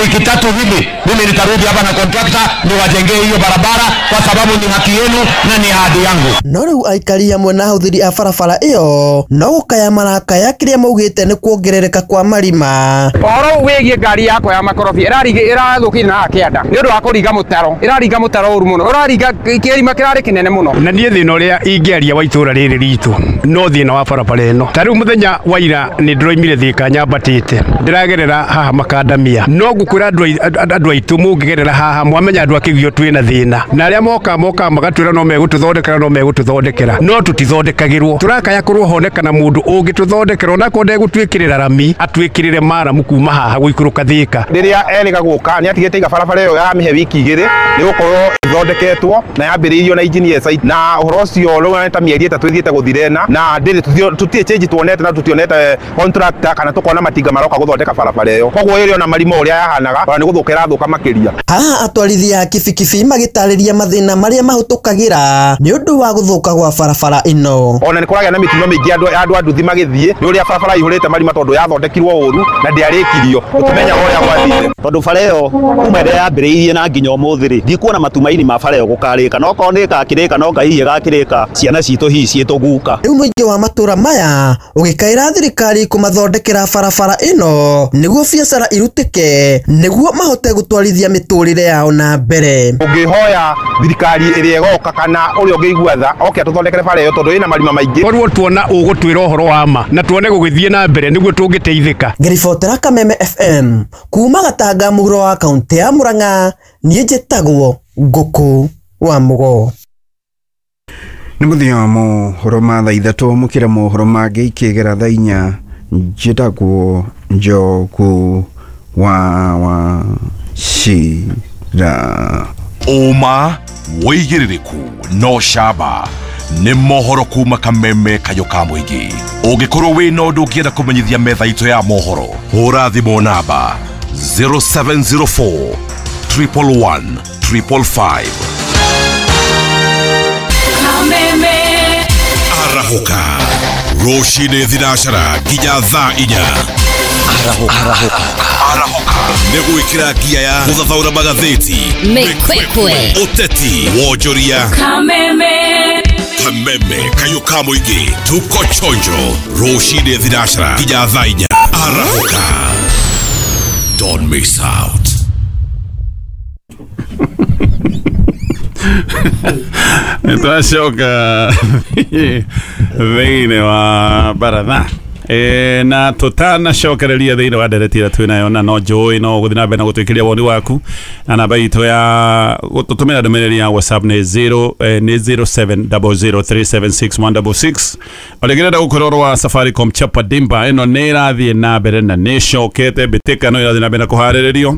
Wiki tatu hivi mimi nitarudi hapa na contractor niwajengee hiyo barabara kwa sababu ni haki yenu na ni ahadi yangu. No riu aikari hamwe na ahuthiri a barabara iyo no gukaya marakaya kiria maugite ni kuongerereka kwa marima. Ũhoro wĩgiĩ ngari yakwa ya makorobia ĩraringa ĩrathũkire na kĩanda nĩ ũndũ wa kũringa mũtaro, ĩraringa mũtaro ũru mũno, ũraringa kĩrima kĩrarĩ kĩnene mũno. Na niĩ thĩna ũrĩa ingĩaria wa itũra rĩrĩ ritũ no thĩna wa barabara ĩno. Ta rĩu mũthenya wa ira nĩ ndĩroimire Thika nyambatĩte ndĩragerera haha Makandamia, no ngukwĩra andũ aitũ mũngĩgerera haha mwamenya andũ a Kĩgio twĩna thĩna, na arĩa moka moka magatwĩra no megũtũthondekera no megũtũthondekera no tũtithondekagĩrwo. Tũrakaya kũrwo honekana mũndũ ũngĩtũthondekera onakorwo ndegũtwĩkĩrĩra rami atwĩkĩrĩre maramu kuma haha gũikũrũka Thika. Rĩrĩa erĩga gũka nĩ atigĩte iga barabara ĩyo yamĩhe wiki igĩrĩ nĩ gũkorwo ĩthondeketwo na yambĩrĩirio na engineer site, na ũhoro ũcio rĩu ta mĩeri ĩtatũ ĩthiĩte gũthirena na ndĩrĩ tũtirĩ change tuonete na tũtionete contractor kana tũkona matinga maroka gũthondeka barabara ĩyo, koguo ĩrĩ ona marima ũrĩa yahanaga ona nĩ gũthũka ĩrathũka makĩria. Haha atwarithia a kibikibi magĩtarĩria mathĩna marĩa mahĩtũkagĩra nĩ ũndũ wa gũthũka gwa barabara ĩno. Ona nĩ kũragĩa na mĩtino mĩingĩ andũ andũ a nduthi magĩthiĩ nĩ ũrĩa barabara ihũrĩte marima tondũ yathondekirwo ũru na ndĩarĩkirio tũtimenyaga ũrĩa gwathire. Tondũ bara ĩyo kuma ĩrĩa yambĩrĩirie na nginya ũmũthĩ rĩ ndikuona matumaini ma bara ĩyo gũkarĩka, no korwo nĩ ĩgakĩrĩka no Ngai hihi ĩgakĩrĩka ciana citũ hihi ciĩtũguka. Rĩu mũingĩ wa matũra maya ũgĩkaĩra thirikari kũmathondekera barabara ĩno nĩguo biacara irutĩke nĩguo mahote gũtwarithia mĩtũrĩre yao na mbere. Ũngĩhoya thirikari ĩrĩa ĩgoka kana ũrĩa ũngĩigua tha oke atũthondekere bara ĩyo tondũ ĩna marima maingĩ. Korwo tuona ũgũtwĩra ũhoro wa ma na tuone gũgĩthiĩ na mbere nĩguo tũngĩteithĩka. Ngĩribotera Kameme F M kuma Gatanga mũhuro wa kaunti ya Murang'a, niĩ njĩtagwo Ngũkũ wa Mũgoo. Nĩ mũthenya wa mohoro ma thaa ithatũ mũkĩra mohoro mangĩ ikĩgera thaa inya. Njĩtagwo Njogu wa wa Shira. Ũma wĩigĩrĩrĩku no camba nĩ mohoro kuma Kameme kayũ ka mũingĩ. Ũngĩkorwo wĩna ũndũ ũngĩenda kũmenyithia metha itũ ya mohoro, hũra thimũ namba zero seven zero four triple one triple five. Kameme arahũka rũcinĩ thinacara nginya thaa inya. Arahũka arahũka nĩ gwĩkĩra ngia ya gũthathaũra magathĩti, mĩkwekwe, ũteti, wonjoria. Kameme Kameme kayũ ka mũingĩ tuko chonjo rũcinĩ thinacara nginya thaa inya. Arahũka, don't miss out. Nĩtwacoka thĩinĩ wa baratha e, na tũtanacokereria thĩinĩ wa ndereti ĩrĩa twĩnayo na no njũĩ no gũthiĩ na mbere na gũtwĩkĩria woni waku na namba itũ ya gũtũtũmĩra ndũmĩrĩri ya WhatsApp nĩ zero eh, nĩ zero seven zero zero three seven six one six six. Ũrĩngĩrenda gũkwĩra ũhoro wa Safaricom Chapa Dimba ĩno nĩ ĩrathiĩ na mbere na nĩ ĩcokete mbĩtĩka no ĩrathiĩ na mbere na kũharĩrĩrio.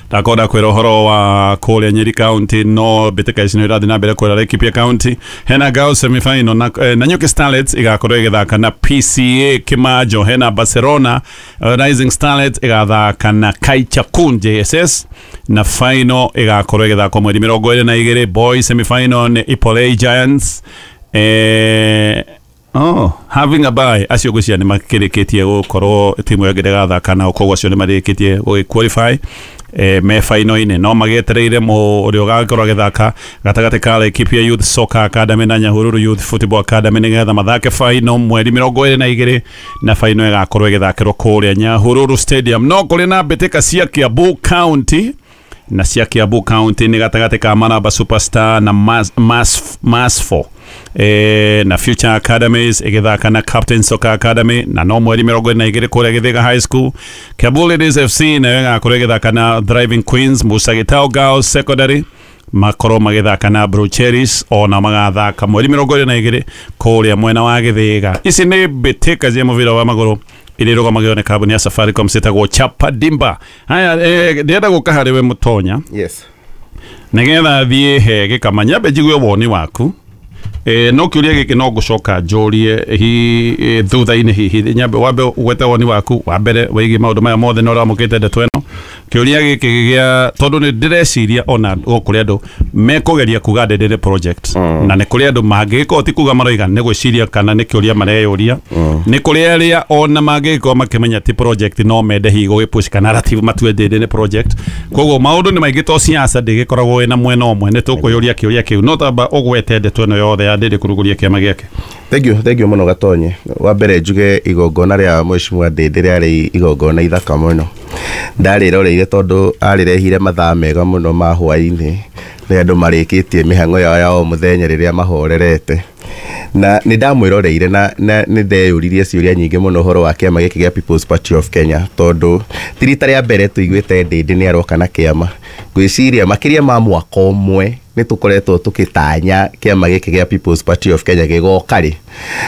Ndakonda kwĩra ũhoro wa kũrĩa Nyeri County no mbĩtĩka ici nĩ ĩrathiĩ na mbere kwĩra Laikipia County hena Girls semi-final na, eh, Nanyuki Starlets igakorwo ĩgĩthaka na P C A Kimajo, hena Barcelona uh, Rising Starlets ĩgathaka na Kaichakun J S S na final ĩgakorwo ĩgĩthakwo mweri mĩrongo ĩrĩ na igĩrĩ. Boys semi-final nĩ Ipolei Giants eh, Oh, having a bye acio gwĩciria nĩ makĩrĩkĩtie gũkorwo timu ĩyo ĩngĩ ndĩgathaka nao, koguo acio nĩ marĩkĩtie gũgĩ qualify eh, me final-inĩ, no magĩetereire ũrĩa ũgakorwo agĩthaka gatagatĩ ka Laikipia Youth Soccer Academy na Nyahururu Youth Football Academy nĩgetha mathake final mweri mĩrongo ĩrĩ na igĩrĩ, na final ĩgakorwo ĩgĩthakĩrwo kũrĩa Nyahururu Stadium. No kũrĩ na mbĩtĩka cia Kiambu County, na cia Kiambu County nĩ gatagatĩ ka Maraba Superstar na Mass, Mass, Mass four e, na Future Academies ĩgĩthaka na Captain Soccer Academy, na no mweri mĩrongo ĩrĩ na igĩrĩ kũrĩa Gĩthĩga High School. Kiambu Ladies F C nayo ĩgakorwo ĩgĩthaka na Thriving Queens. Musa Gitau Girls Secondary makorwo magĩthaka na Blue Cherries, ona magathaka mweri mĩrongo ĩrĩ na igĩrĩ kũrĩa mwena wa Gĩthĩga. Ici nĩ mbĩtĩka cia mũbira wa magũrũ iria irũgamagĩrĩrwo nĩ kambuni ya Safaricom ciĩtagwo Chapa Dimba. Haya, eh, ndĩrenda gũka harĩ we Mũtonya. Yes. Nĩgetha thiĩ he gĩkama nyambe njigue woni waku. Eh, no kĩũria gĩkĩ no ngũcoka njũrie hi e, thutha-inĩ hihi nyambe wambe ũgwete woni waku wa mbere wĩgiĩ maũndũ maya mothe na ũramũkĩte ndeto ĩno. Kĩũria gĩkĩ gĩa tondũ nĩ ndĩreciria ona gũkũ andũ mekũgeria kuga ndĩndĩ project mm. na nĩ kũrĩ andũ mangĩgĩkorwo ti kuga maroiga nĩ gwĩciria kana nĩ kĩũria mareyũria mm. nĩ kũrĩ arĩa ona mangĩgĩkorwo makĩmenya ti project no mende hihi gũgĩpush kana narrative matue ndĩndĩ nĩ project. Koguo maũndũ nĩ maingĩ to siasa ndĩgĩkoragwo ĩna mwena ũmwe, nĩ tũkwĩyũria kĩũria kĩu no tamba ũgwete ndeto ĩno yothe ya ndĩndĩ kũrugũria kĩama gĩake. Thank you, thank you mũno Gatonye. Wa mbere njuge igongona rĩa Mheshimiwa Ndĩndĩ rĩarĩ igongona ithaka mũno. Ndarĩroreire tondũ arĩrehire mathaa mega mũno ma hwaĩ-inĩ rĩrĩa andũ marĩkĩtie mĩhang'o yao ya o mũthenya rĩrĩa mahorerete. Na nĩ ndamwĩroreire na, na nĩ ndeyũririe ciũria nyingĩ mũno ũhoro wa kĩama gĩkĩ gĩa People's Party of Kenya, tondũ ti rita rĩa mbere tũiguĩte Ndĩndĩ nĩ aroka na kĩama. Ngwĩciria makĩria ma mwaka ũmwe nĩ tũkoretwo tũkĩtanya kĩama gĩkĩ gĩa People's Party of Kenya gĩgoka rĩ.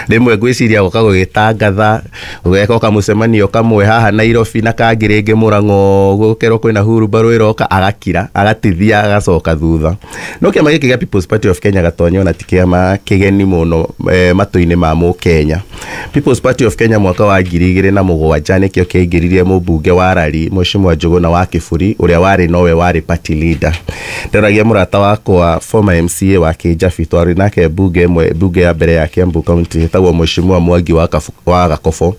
Rĩmwe ngwĩciria gũka gũgĩtangatha gũgeka kamũcemanio kamwe haha Nairobi na kangĩ rĩngĩ Mũrang'o, gũkerwo kwĩna hurumbarũ ĩroka, agakira agatithia agacoka thutha. No kĩama gĩkĩ gĩa People's Party of Kenya Gatonye ona ti kĩama kĩgeni mũno eh, matũ-inĩ ma mũkenya. People's Party of Kenya mwaka wa ngiri igĩrĩ na mũgwanja nĩkĩo kĩaingĩririe mũmbunge wa Rari Mheshimiwa Njũgũna wa Kĩburi ũrĩa warĩ nowe warĩ party leader. Ndĩroragia mũrata wakwa former M C A wa Kĩnjabi, twarĩ nake mbunge ĩmwe, mbunge ya mbere ya Kiambu County ĩtagwo Mheshimiwa Mwangi wa wa Gakobo.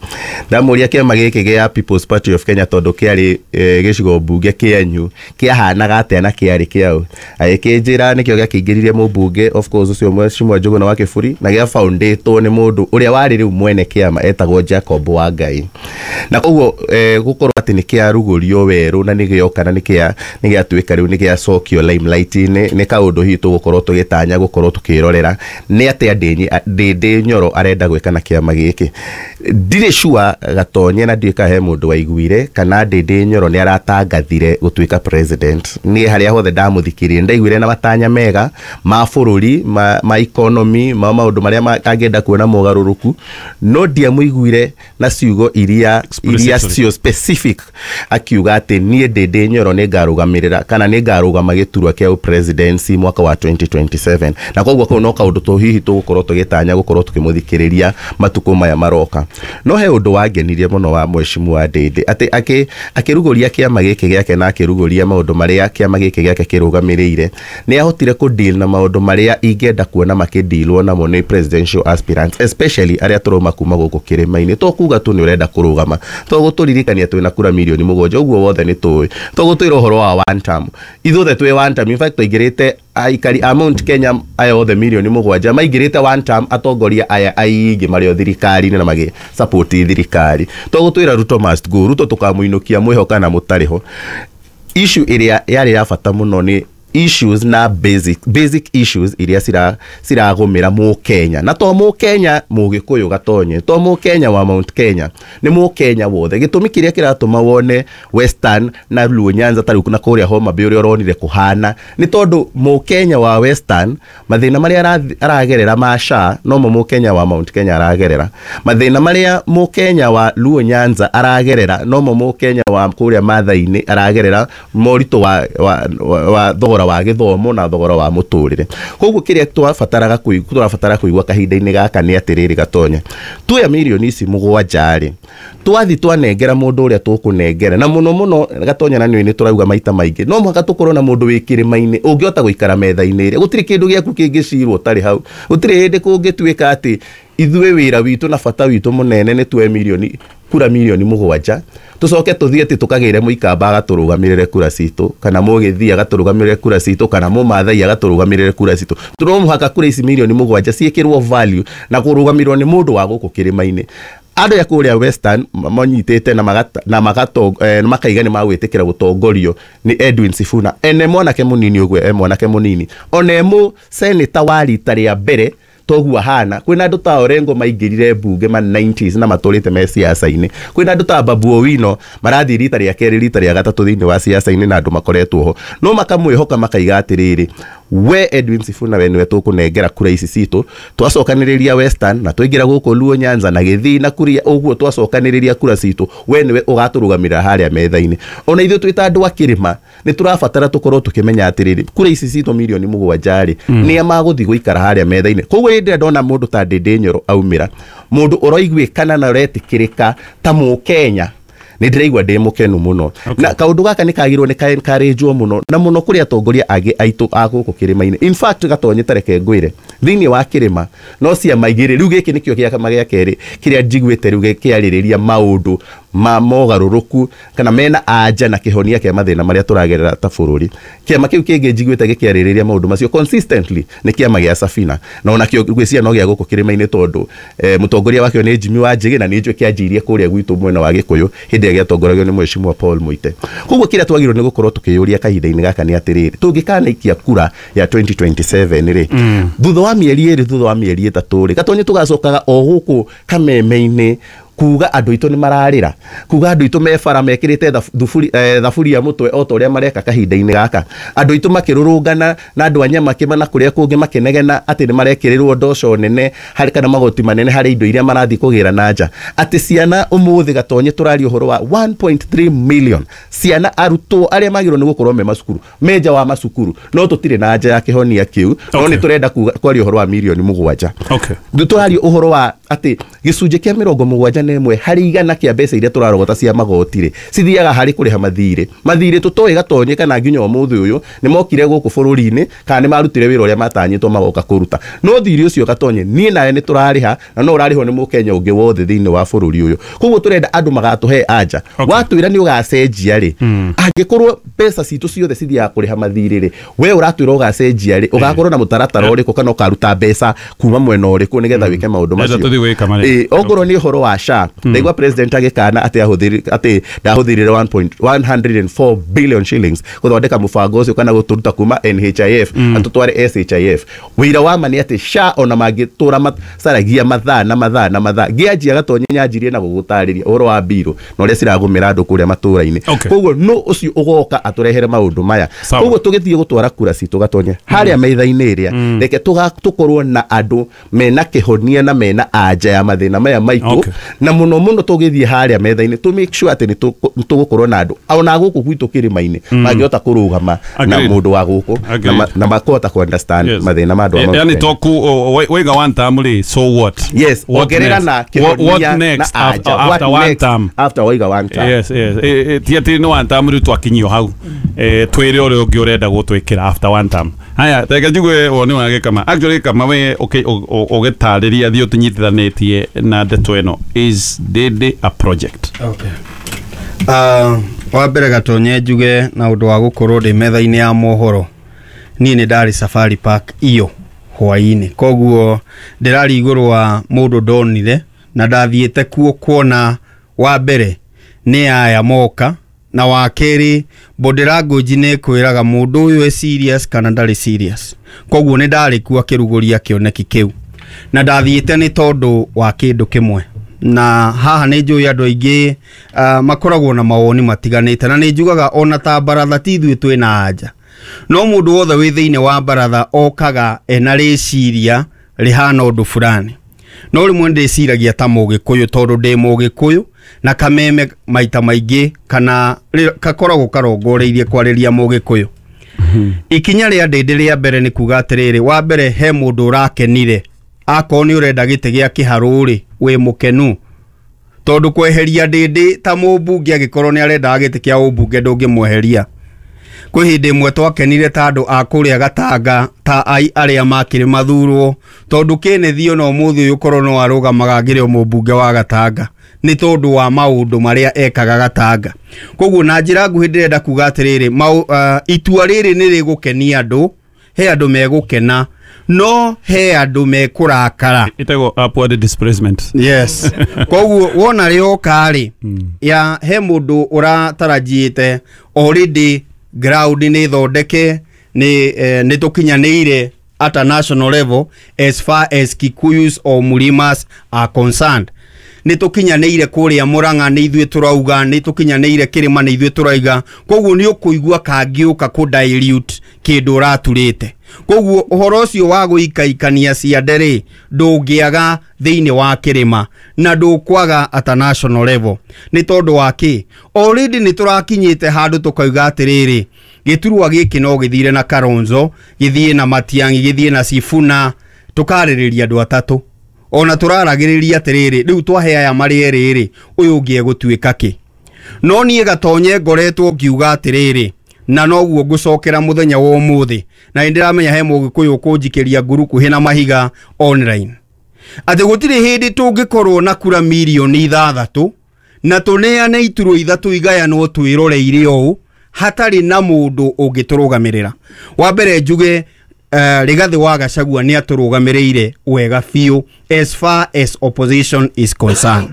Ndamũria kĩama gĩkĩ gĩa People's Party of Kenya tondũ kĩarĩ e, gĩcigo mbunge kĩanyu kĩahanaga atĩa na kĩarĩ kĩaũ. Agĩkĩnjĩra nĩkĩo gĩakĩingĩririe mũmbunge of course ũcio Mheshimiwa Njũgũna wa Kĩburi, na gĩa foundĩtwo nĩ mũndũ ũrĩa warĩ rĩu mwene kĩama etagwo Jacob Wangai. Na koguo e, gũkorwo atĩ nĩ kĩarugũrio werũ na nĩ gĩoka na nĩ kĩa nĩ gĩatuĩka rĩu nĩ gĩacokio limelight-inĩ, nĩ kaũndũ hihi tũgũkorwo tũgĩtanya gũkorwo tũkĩrorera nĩ atĩa Ndĩndĩ Nyoro arenda gwĩka na kĩama gĩkĩ. Ndirĩ sure Gatonye na ndiũĩ kana he mũndũ waiguire kana Ndĩndĩ Nyoro nĩ aratangathire gũtuĩka president. Niĩ harĩa hothe ndamũthikĩrĩrie ndaiguire na matanya mega ma bũrũri ma, ma economy ma maũndũ marĩa angĩenda kuona mogarũrũku, no ndiamũiguire na ciugo iria iria cio specific akiuga atĩ niĩ Ndĩndĩ Nyoro nĩ ngarũgamĩrĩra kana nĩ ngarũgama gĩturwa kĩa presidency mwaka wa twenty twenty-seven. Na koguo kau no kaũndũ tũ hihi tũgũkorwo tũgĩtanya gũkorwo tũkĩmũthikĩrĩria matukũ maya maroka. No he ũndũ wangenirie mũno wa Mheshimiwa Ndĩndĩ atĩ akĩ akĩrugũria kĩama gĩkĩ gĩake na akĩrugũria maũndũ marĩa kĩama gĩkĩ gĩake kĩrũgamĩrĩire, nĩ ahotire kũ deal na maũndũ marĩa ingĩenda kuona makĩdealwo namo nĩ presidential aspirants, especially arĩa tũrauma kuma gũkũ kĩrĩma-inĩ. To kuga tu nĩ ũrenda kũrũgama, to gũtũririkania twĩna kura mirioni mũgwanja ũguo wothe nĩ tũĩ, to gũtwĩra ũhoro wa one term, ithuothe twĩ one term. In fact twaingĩrĩte aikari a Mount Kenya aya othe mirioni mũgwanja maingĩrĩte one term, atongoria aya aingĩ marĩ o thirikari-inĩ na magĩ support thirikari. To gũtwĩra Ruto must go, Ruto tũkamũinũkia mwĩho kana mũtarĩ ho. Issue ĩrĩa yarĩ ya bata mũno nĩ issues na basic basic issues iria cira ciragũmĩra mũkenya, na to mũkenya mũgĩkũyũ Gatonye, to mũkenya wa Mount Kenya, nĩ mũkenya wothe. Gĩtũmi kĩrĩa kĩratũma wone Western na Luo Nyanza ta rĩu na kũrĩa Homa Bay ũrĩa ũronire kũhana nĩ tondũ mũkenya wa Western mathĩna marĩa aragerera ma S H A nomo mũkenya wa Mount Kenya aragerera, mathĩna marĩa mũkenya wa Luo Nyanza aragerera nomo mũkenya wa kũrĩa Mathai-inĩ aragerera, moritũ wa, wa, wa, wa thogora thogora wa gĩthomo na thogora wa mũtũrĩre. Koguo kĩrĩa twabataraga kũigua tũrabatara kũigua kahinda-inĩ gaka nĩ atĩrĩrĩ Gatonya, tuoya mirioni ici mũgwanja rĩ, twathi twanengera mũndũ ũrĩa tũkũnengera, na mũno mũno Gatonya na nĩ tũrauga maita maingĩ no mũhaka tũkorwo na mũndũ wĩ kĩrĩma-inĩ ũngĩhota gũikara metha-inĩ ĩrĩa. Gũtirĩ kĩndũ gĩaku kĩngĩcirwo ũtarĩ hau. Gũtirĩ hĩndĩ kũngĩtuĩka atĩ ithuĩ wĩra witũ na bata witũ mũnene nĩ tuoe mirioni kura mirioni mũgwanja tucoke tuthie ati tukagire muikamba agaturugamirire kura citu, kana mugithii agaturugamirire kura citu, kana mumathai agaturugamirire kura citu. No muhaka kura ici mirioni mugwanja ciikirwo value na kurugamirwo ni mundu wa guku kirima-ini. Andũ ya kũrĩa Western manyitĩte na magata na magato eh, makaiga nĩ magwĩtĩkĩra gũtongorio nĩ Edwin Sifuna, ene mwanake munini ũguo, e mwanake munini one mu senator wa rita rĩa mbere toguo ahana. Kwĩna andũ ta Orengo maingĩrire mbunge ma nineties na matũrĩte me siasa-inĩ. Kwĩna andũ ta Babu Owino marathiĩ rita rĩa kerĩ rita rĩa gatatũ thĩinĩ wa siasa-inĩ na andũ makoretwo ho, no makamwĩhoka makaiga atĩrĩrĩ, we Edwin Sifuna we niwe tũkũnengera kura ici citũ, twacokanĩrĩria Western na twaingĩra gũkũ Luo Nyanza na Gĩthii na kuria ũguo, twacokanĩrĩria kura citũ, we niwe ũgatũrũgamĩrĩra harĩa metha-inĩ. Ona ithuĩ twĩ ta andũ a kĩrĩma nĩ tũrabatara tũkorwo tũkĩmenya atĩrĩrĩ, kura ici citũ mirioni mũgwanja rĩ, mm. nĩa magũthiĩ gũikara harĩa metha-inĩ. Koguo hĩndĩ ĩrĩa ndona mũndũ ta Ndindi Nyoro aumĩra, mũndũ ũroiguĩkana na ũretĩkĩrĩka ta Mũkenya, nĩ ndĩraigua ndĩ mũkenu mũno. Na kaũndũ gaka nĩ kagĩrĩirwo nĩ ka-encourage-wo mũno na mũno kũrĩ atongoria angĩ aitũ a gũkũ kĩrĩma-inĩ. In fact Gatonye, ta reke ngwĩre, thĩinĩ wa kĩrĩma no ciama igĩrĩ rĩu, gĩkĩ nĩkĩo kĩama gĩa kerĩ kĩrĩa njiguĩte rĩu kĩarĩrĩria maũndũ ma mogarũrũku kana mena anja na kĩhonia kĩa mathĩna marĩa tũragerera ta bũrũri. Kĩama kĩu kĩngĩ njiguĩte gĩkĩarĩrĩria maũndũ macio consistently nĩ kĩama gĩa Safina, na onakĩo ngwĩciria no gĩa gũkũ kĩrĩma-inĩ tondũ eh, mũtongoria wakĩo nĩ Jimmy Wanjigi, na nĩ njũĩ kĩanjirie kũrĩa gwitũ mwena wa Gĩkũyũ hĩndĩ ĩrĩa gĩatongoragio nĩ Mheshimiwa Paul Muite. Koguo kĩrĩa twagĩrĩirwo nĩ gũkorwo tũkĩyũria kahinda-inĩ gaka nĩ atĩrĩrĩ, tũngĩkanaikia kura ya twenty twenty-seven rĩ, mm. thutha wa mĩeri ĩrĩ, thutha wa mĩeri ĩtatũ rĩ, Gatonye tũgacokaga o gũkũ kameme-inĩ kuga andũ aitũ nĩ mararĩra, kuga andũ aitũ me bara mekĩrĩte thaburia mũtwe o ta ũrĩa mareka kahinda-inĩ gaka, andũ aitũ makĩrũrũngana na andũ a Nyamakĩma na kũrĩa kũngĩ makĩnegena atĩ nĩ marekĩrĩrwo ndoco nene harĩ kana magoti manene harĩ indo iria marathiĩ kũgĩra na nja, atĩ ciana ũmũthĩ Gatonye tũraria ũhoro wa one point three million ciana arutwo arĩa magĩrĩirwo nĩ gũkorwo me macukuru, me nja wa macukuru, no tũtirĩ na nja ya kĩhonia kĩu, no nĩ tũrenda kwaria ũhoro wa mirioni mũgwanja. Tũraria ũhoro wa atĩ gĩcunjĩ kĩa mĩrongo mũgwanja na ĩmwe harĩ igana kĩa mbeca iria tũrarogota cia magoti rĩ, cithiaga harĩ kũrĩha mathirĩ. Mathirĩ tũtoĩ Gatonye kana nginya ũmũthĩ ũyũ nĩ mokire gũkũ bũrũri-inĩ kana nĩ marutire wĩra ũrĩa matanyĩtwo magoka kũruta, no thirĩ ũcio Gatonye niĩ nawe nĩ tũrarĩha na no ũrarĩhwo nĩ mũkenya ũngĩ wothe thĩinĩ wa bũrũri ũyũ. Koguo tũrenda andũ magatũhe anja. Watwĩra nĩ ũgacenjia rĩ, angĩkorwo mbeca citũ ciothe cithiaga kũrĩha mathirĩ rĩ, we ũratwĩra ũgacenjia rĩ, ũgakorwo na mũtaratara ũrĩkũ kana ũkaruta mbeca kuma mwena ũrĩkũ nĩgetha wĩke maũndũ macio. Ĩĩ, okorwo nĩ ũhoro wa S H A, ndaigua president agĩkana atĩ ahũthĩri atĩ ndahũthĩrire one hundred and four billion shillings gũthondeka mũbango ũcio kana gũtũruta kuma N H I F atũtware S H I F. Wĩira wa ma nĩ atĩ S H A ona mangĩtũra macaragia mathaa na mathaa na mathaa, ngĩanjia Gatonye nyanjirie na gũgũtarĩria ũhoro wa mbirũ na ũrĩa ciragũmĩra andũ kũrĩa matũra-inĩ. Koguo no ũcio ũgoka atũrehere maũndũ maya. Koguo tũgĩthiĩ gũtwara kura citũ Gatonye harĩa metha-inĩ ĩrĩa, reke tũkorwo na andũ mena kĩhonia na mena anja ya mathĩna maya maitũ, na mũno mũno tũgĩthiĩ harĩa metha-inĩ to make sure atĩ nĩ tũgũkorwo na andũ ona gũkũ gwitũ kĩrĩma-inĩ mangĩhota kũrũgama na mũndũ wa gũkũ na makahota kũ understand mathĩna ma andũ a Yani toku waiga one term rĩ, so what? Yes, ongerera na kĩhonia na anja. After one term, after waiga one term. Yes, yes. Ti atĩ nĩ one term rĩu twakinyio hau twĩre ũrĩa ũngĩ ũrenda gũtwĩkĩra after one term. Haya, reke njigue woni wa Gĩkama. Actually Gĩkama we ũgĩtarĩria thiĩ ũtũnyitithanĩtie na ndeto ĩno, is Ndindi a project? Okay. Uh, wa mbere Gatonye njuge na ũndũ wa gũkorwo ndĩ metha-inĩ ya mohoro, niĩ nĩ ndarĩ Safari Park iyo hwaĩ-inĩ, koguo ndĩrari igũrũ wa mũndũ ndonire na ndathiĩte kuo kuona wa mbere nĩ aya moka, na wa kerĩ body language nĩ kwĩraga mũndũ ũyũ e serious kana ndarĩ serious, koguo nĩ ndarĩ kuo akĩrugũria kĩoneki kĩu, na ndathiĩte nĩ tondũ wa kĩndũ kĩmwe. Na haha nĩ njũĩ andũ aingĩ uh, makoragwo na mawoni matiganĩte, na nĩ njugaga ona ta baratha ti ithuĩ twĩna anja, no mũndũ wothe wĩ thĩinĩ wa baratha okaga ena rĩciria rĩhana ũndũ fulani, no rĩmwe ndĩciragia ta mũgĩkũyũ tondũ ndĩ mũgĩkũyũ na kameme maita maingĩ kana kakoragwo karongoreirie kwarĩria mũgĩkũyũ. Ikinya rĩa Ndĩndĩ rĩa mbere nĩ kuga atĩrĩrĩ, wa mbere he mũndũ ũrakenire, akorwo nĩ ũrenda gĩtĩ gĩa kĩharũ rĩ, wĩ mũkenu, tondũ kweheria Ndĩndĩ ta mũmbunge angĩkorwo nĩ arendaga gĩtĩ kĩa ũmbunge ndũngĩmweheria. Kwĩ hĩndĩ ĩmwe twakenire ta andũ a kũrĩa Gatanga ta ai arĩa makĩrĩ mathurwo, tondũ Kenneth ona ũmũthĩ ũyũ korwo no arũgamaga angĩrĩ o mũmbunge wa Gatanga nĩ tondũ wa maũndũ marĩa ekaga Gatanga. Koguo na njĩra nguhĩ ndĩrenda kuga atĩrĩrĩ, uh, itua rĩrĩ nĩ rĩgũkenia andũ, he andũ megũkena, no he andũ mekũrakara. Ĩtagwo upward displacement. Yes. Koguo wona rĩoka rĩ, ya he mũndũ ũratarajiĩte already ground nĩ thondeke, nĩ eh, nĩ tũkinyanĩire at a national level as far as Kikuyus or Mulimas are concerned. Nĩ tũkinyanĩire kũrĩa Murang'a nĩ ithuĩ tũrauga, nĩ tũkinyanĩire Kĩrĩma nĩ ithuĩ tũrauga. Koguo nĩ ũkũigua kangĩũka kũ dilute kĩndũ ũraturĩte. Koguo ũhoro ũcio wa gũikaikania ciande rĩ, ndũngĩaga thĩinĩ wa Kĩrĩma na ndũkwaga at a national level. Nĩ tondũ wa kĩ? Already nĩ tũrakinyĩte handũ tũkauga atĩrĩrĩ, gĩturwa gĩkĩ no gĩthire na Kalonzo, gĩthiĩ na Matiang'i, gĩthiĩ na Sifuna, tũkarĩrĩria andũ atatũ. Ona tũraragĩrĩria atĩrĩrĩ, rĩu twahe aya marĩ erĩ rĩ, ũyũ ũngĩ egũtuĩka kĩ? No niĩ Gatonye ngoretwo ngiuga atĩrĩrĩ, na noguo ngũcokera mũthenya wa ũmũthĩ, na nĩndĩramenya he mũgĩkũyũ ũkũnjikĩria ngurukuhĩ na mahiga online, atĩ gũtirĩ hĩndĩ tũngĩkorwo na kura mirioni ithathatũ na tũneane iturwa ithatũ igayanwo twĩroreire ũũ hatarĩ na mũndũ ũngĩtũrũgamĩrĩra. Wa mbere njuge Uh, Rigathi wa Gachagua nĩ atũrũgamĩrĩire wega biũ as far as opposition is concerned.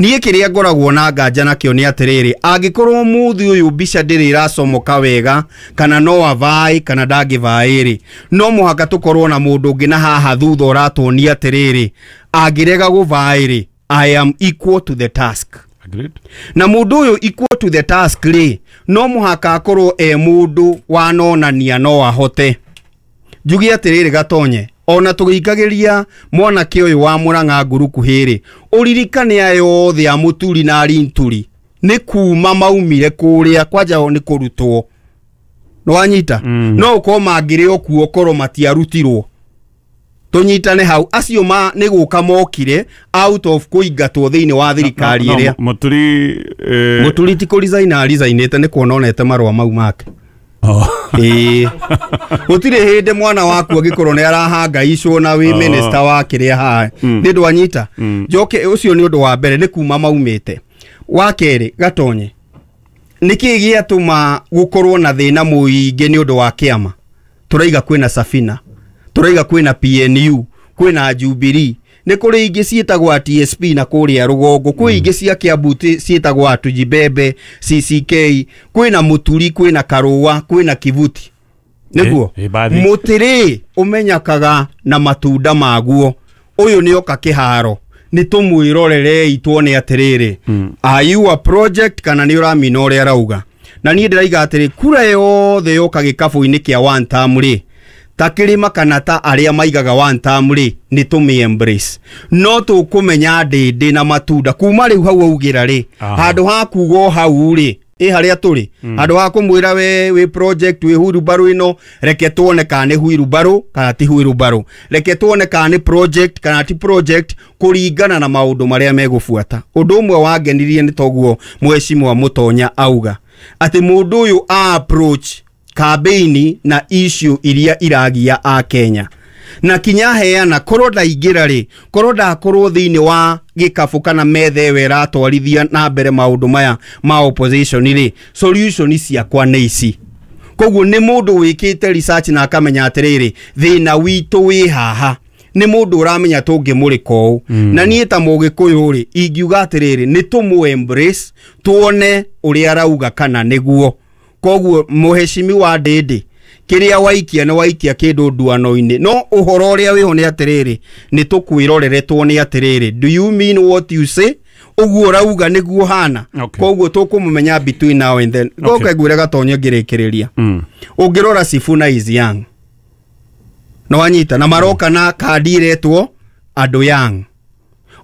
Niĩ kĩrĩa ngoragwo na nganja nakĩo nĩ atĩrĩrĩ, angĩkorwo mũthĩ ũyũ mbica ndĩrĩ ĩracomoka wega, kana no avae kana ndangĩvae rĩ, no mũhaka tũkorwo na mũndũ ũngĩ na haha thutha ũratuonia atĩrĩrĩ, angĩrega gũvae rĩ, I am equal to the task. Agreed. Na mũndũ ũyũ equal to the task rĩ, no mũhaka akorwo e mũndũ wanonania no ahote. Njuge atĩrĩrĩ Gatonye, ona tũgĩikagĩria mwanake ũyũ wa Murang'a ngurukuhĩ rĩ, ũririkane aya othe a Mũturi na Arinturi nĩ kuma maumire kũrĩa kwanja o nĩ kũrutwo. Nĩwanyita? Mm. No ũkorwo mangĩrĩ o kuo korwo matiarutirwo. Tũnyitane hau, acio ma nĩ gũka mokire out of kũingatwo thĩinĩ wa thirikari ĩrĩa. Mũturi eh... Mũturi ti kũ-resign arisainĩte nĩ kuona onete marũa mau make. Ĩĩ. Gũtirĩ hĩndĩ mwana waku angĩkorwo nĩ arahangaicwo na wĩ minister wa kĩrĩa haha. Nĩ ndwanyita. Njoke ũcio nĩ ũndũ wa mbere nĩ kuma maumĩte. Wa kerĩ Gatonye, nĩkĩ gĩatũma gũkorwo na thĩna mũingĩ nĩ ũndũ wa kĩama? Tũraiga kwĩna Safina, tũraiga kwĩna P N U, kwĩna Jubilee, nĩ kũrĩ ingĩ ciĩtagwo T S P na kũrĩa rũgongo, kwĩ ingĩ cia Kiambu ciĩtagwo Atujibebe, C C K, kwĩna Mũturi, kwĩna Karũa, kwĩna Kivuti. Nĩguo mũtĩrĩ ũmenyakaga na matunda maguo. Ũyũ nĩ oka kĩharo, nĩ tũmwĩrorerei tuone atĩrĩrĩ, are you a project kana nĩ ũramina ũrĩa arauga. Na niĩ ndĩraiga atĩrĩ, kura yothe yoka gĩkabũ-inĩ kĩa one term rĩ, ta Kĩrĩma kana ta arĩa maigaga one term rĩ, nĩ tũmĩ embrace. No tũkũmenya Ndĩndĩ na matunda kuma rĩu hau augĩra rĩ, handũ ha kuga o hau rĩ, ĩ harĩa tũrĩ, handũ ha kũmwĩra we wĩ project wĩ huirubarũ ĩno, reke tuone kana nĩ huirubarũ kana ti huirubarũ, reke tuone kana nĩ project kana ti project, kũringana na maũndũ marĩa megũbuata. Ũndũ ũmwe wangenirie nĩ toguo mheshimiwa Mũtonya auga atĩ mũndũ ũyũ a approach campaign na issue iria iragia a Kenya, na kinya heana korwo ndaingĩra rĩ, korwo ndakorwo thĩinĩ wa gĩkabũ kana metha ĩyo ĩratwarithia na mbere maũndũ maya ma opposition rĩ, solution ciakwa nĩ ici. Koguo nĩ mũndũ wĩkĩte research na akamenya atĩrĩrĩ, thĩna witũ wĩ haha, nĩ mũndũ ũramenya tũngĩmũrĩka ũũ. Na niĩ ta mũgĩkũyũ rĩ, ingiuga atĩrĩrĩ, nĩ tũmũ embrace tuone ũrĩa arauga kana nĩguo. Koguo mũheshimiwa Ndĩndĩ, kĩrĩa waikia nĩ waikia kĩndũ nduano-inĩ, no ũhoro ũrĩa wĩho nĩ atĩrĩrĩ, nĩ tũkwĩrorere tuone atĩrĩrĩ, do you mean what you say? Ũguo ũrauga nĩguo hana. Koguo tũkũmũmenya between now and then. Ngoka ngwĩre Gatonye ngĩrĩkĩrĩria, ũngĩrora Sifuna is young, no wanyita, na maroka na kandi iretwo andũ young.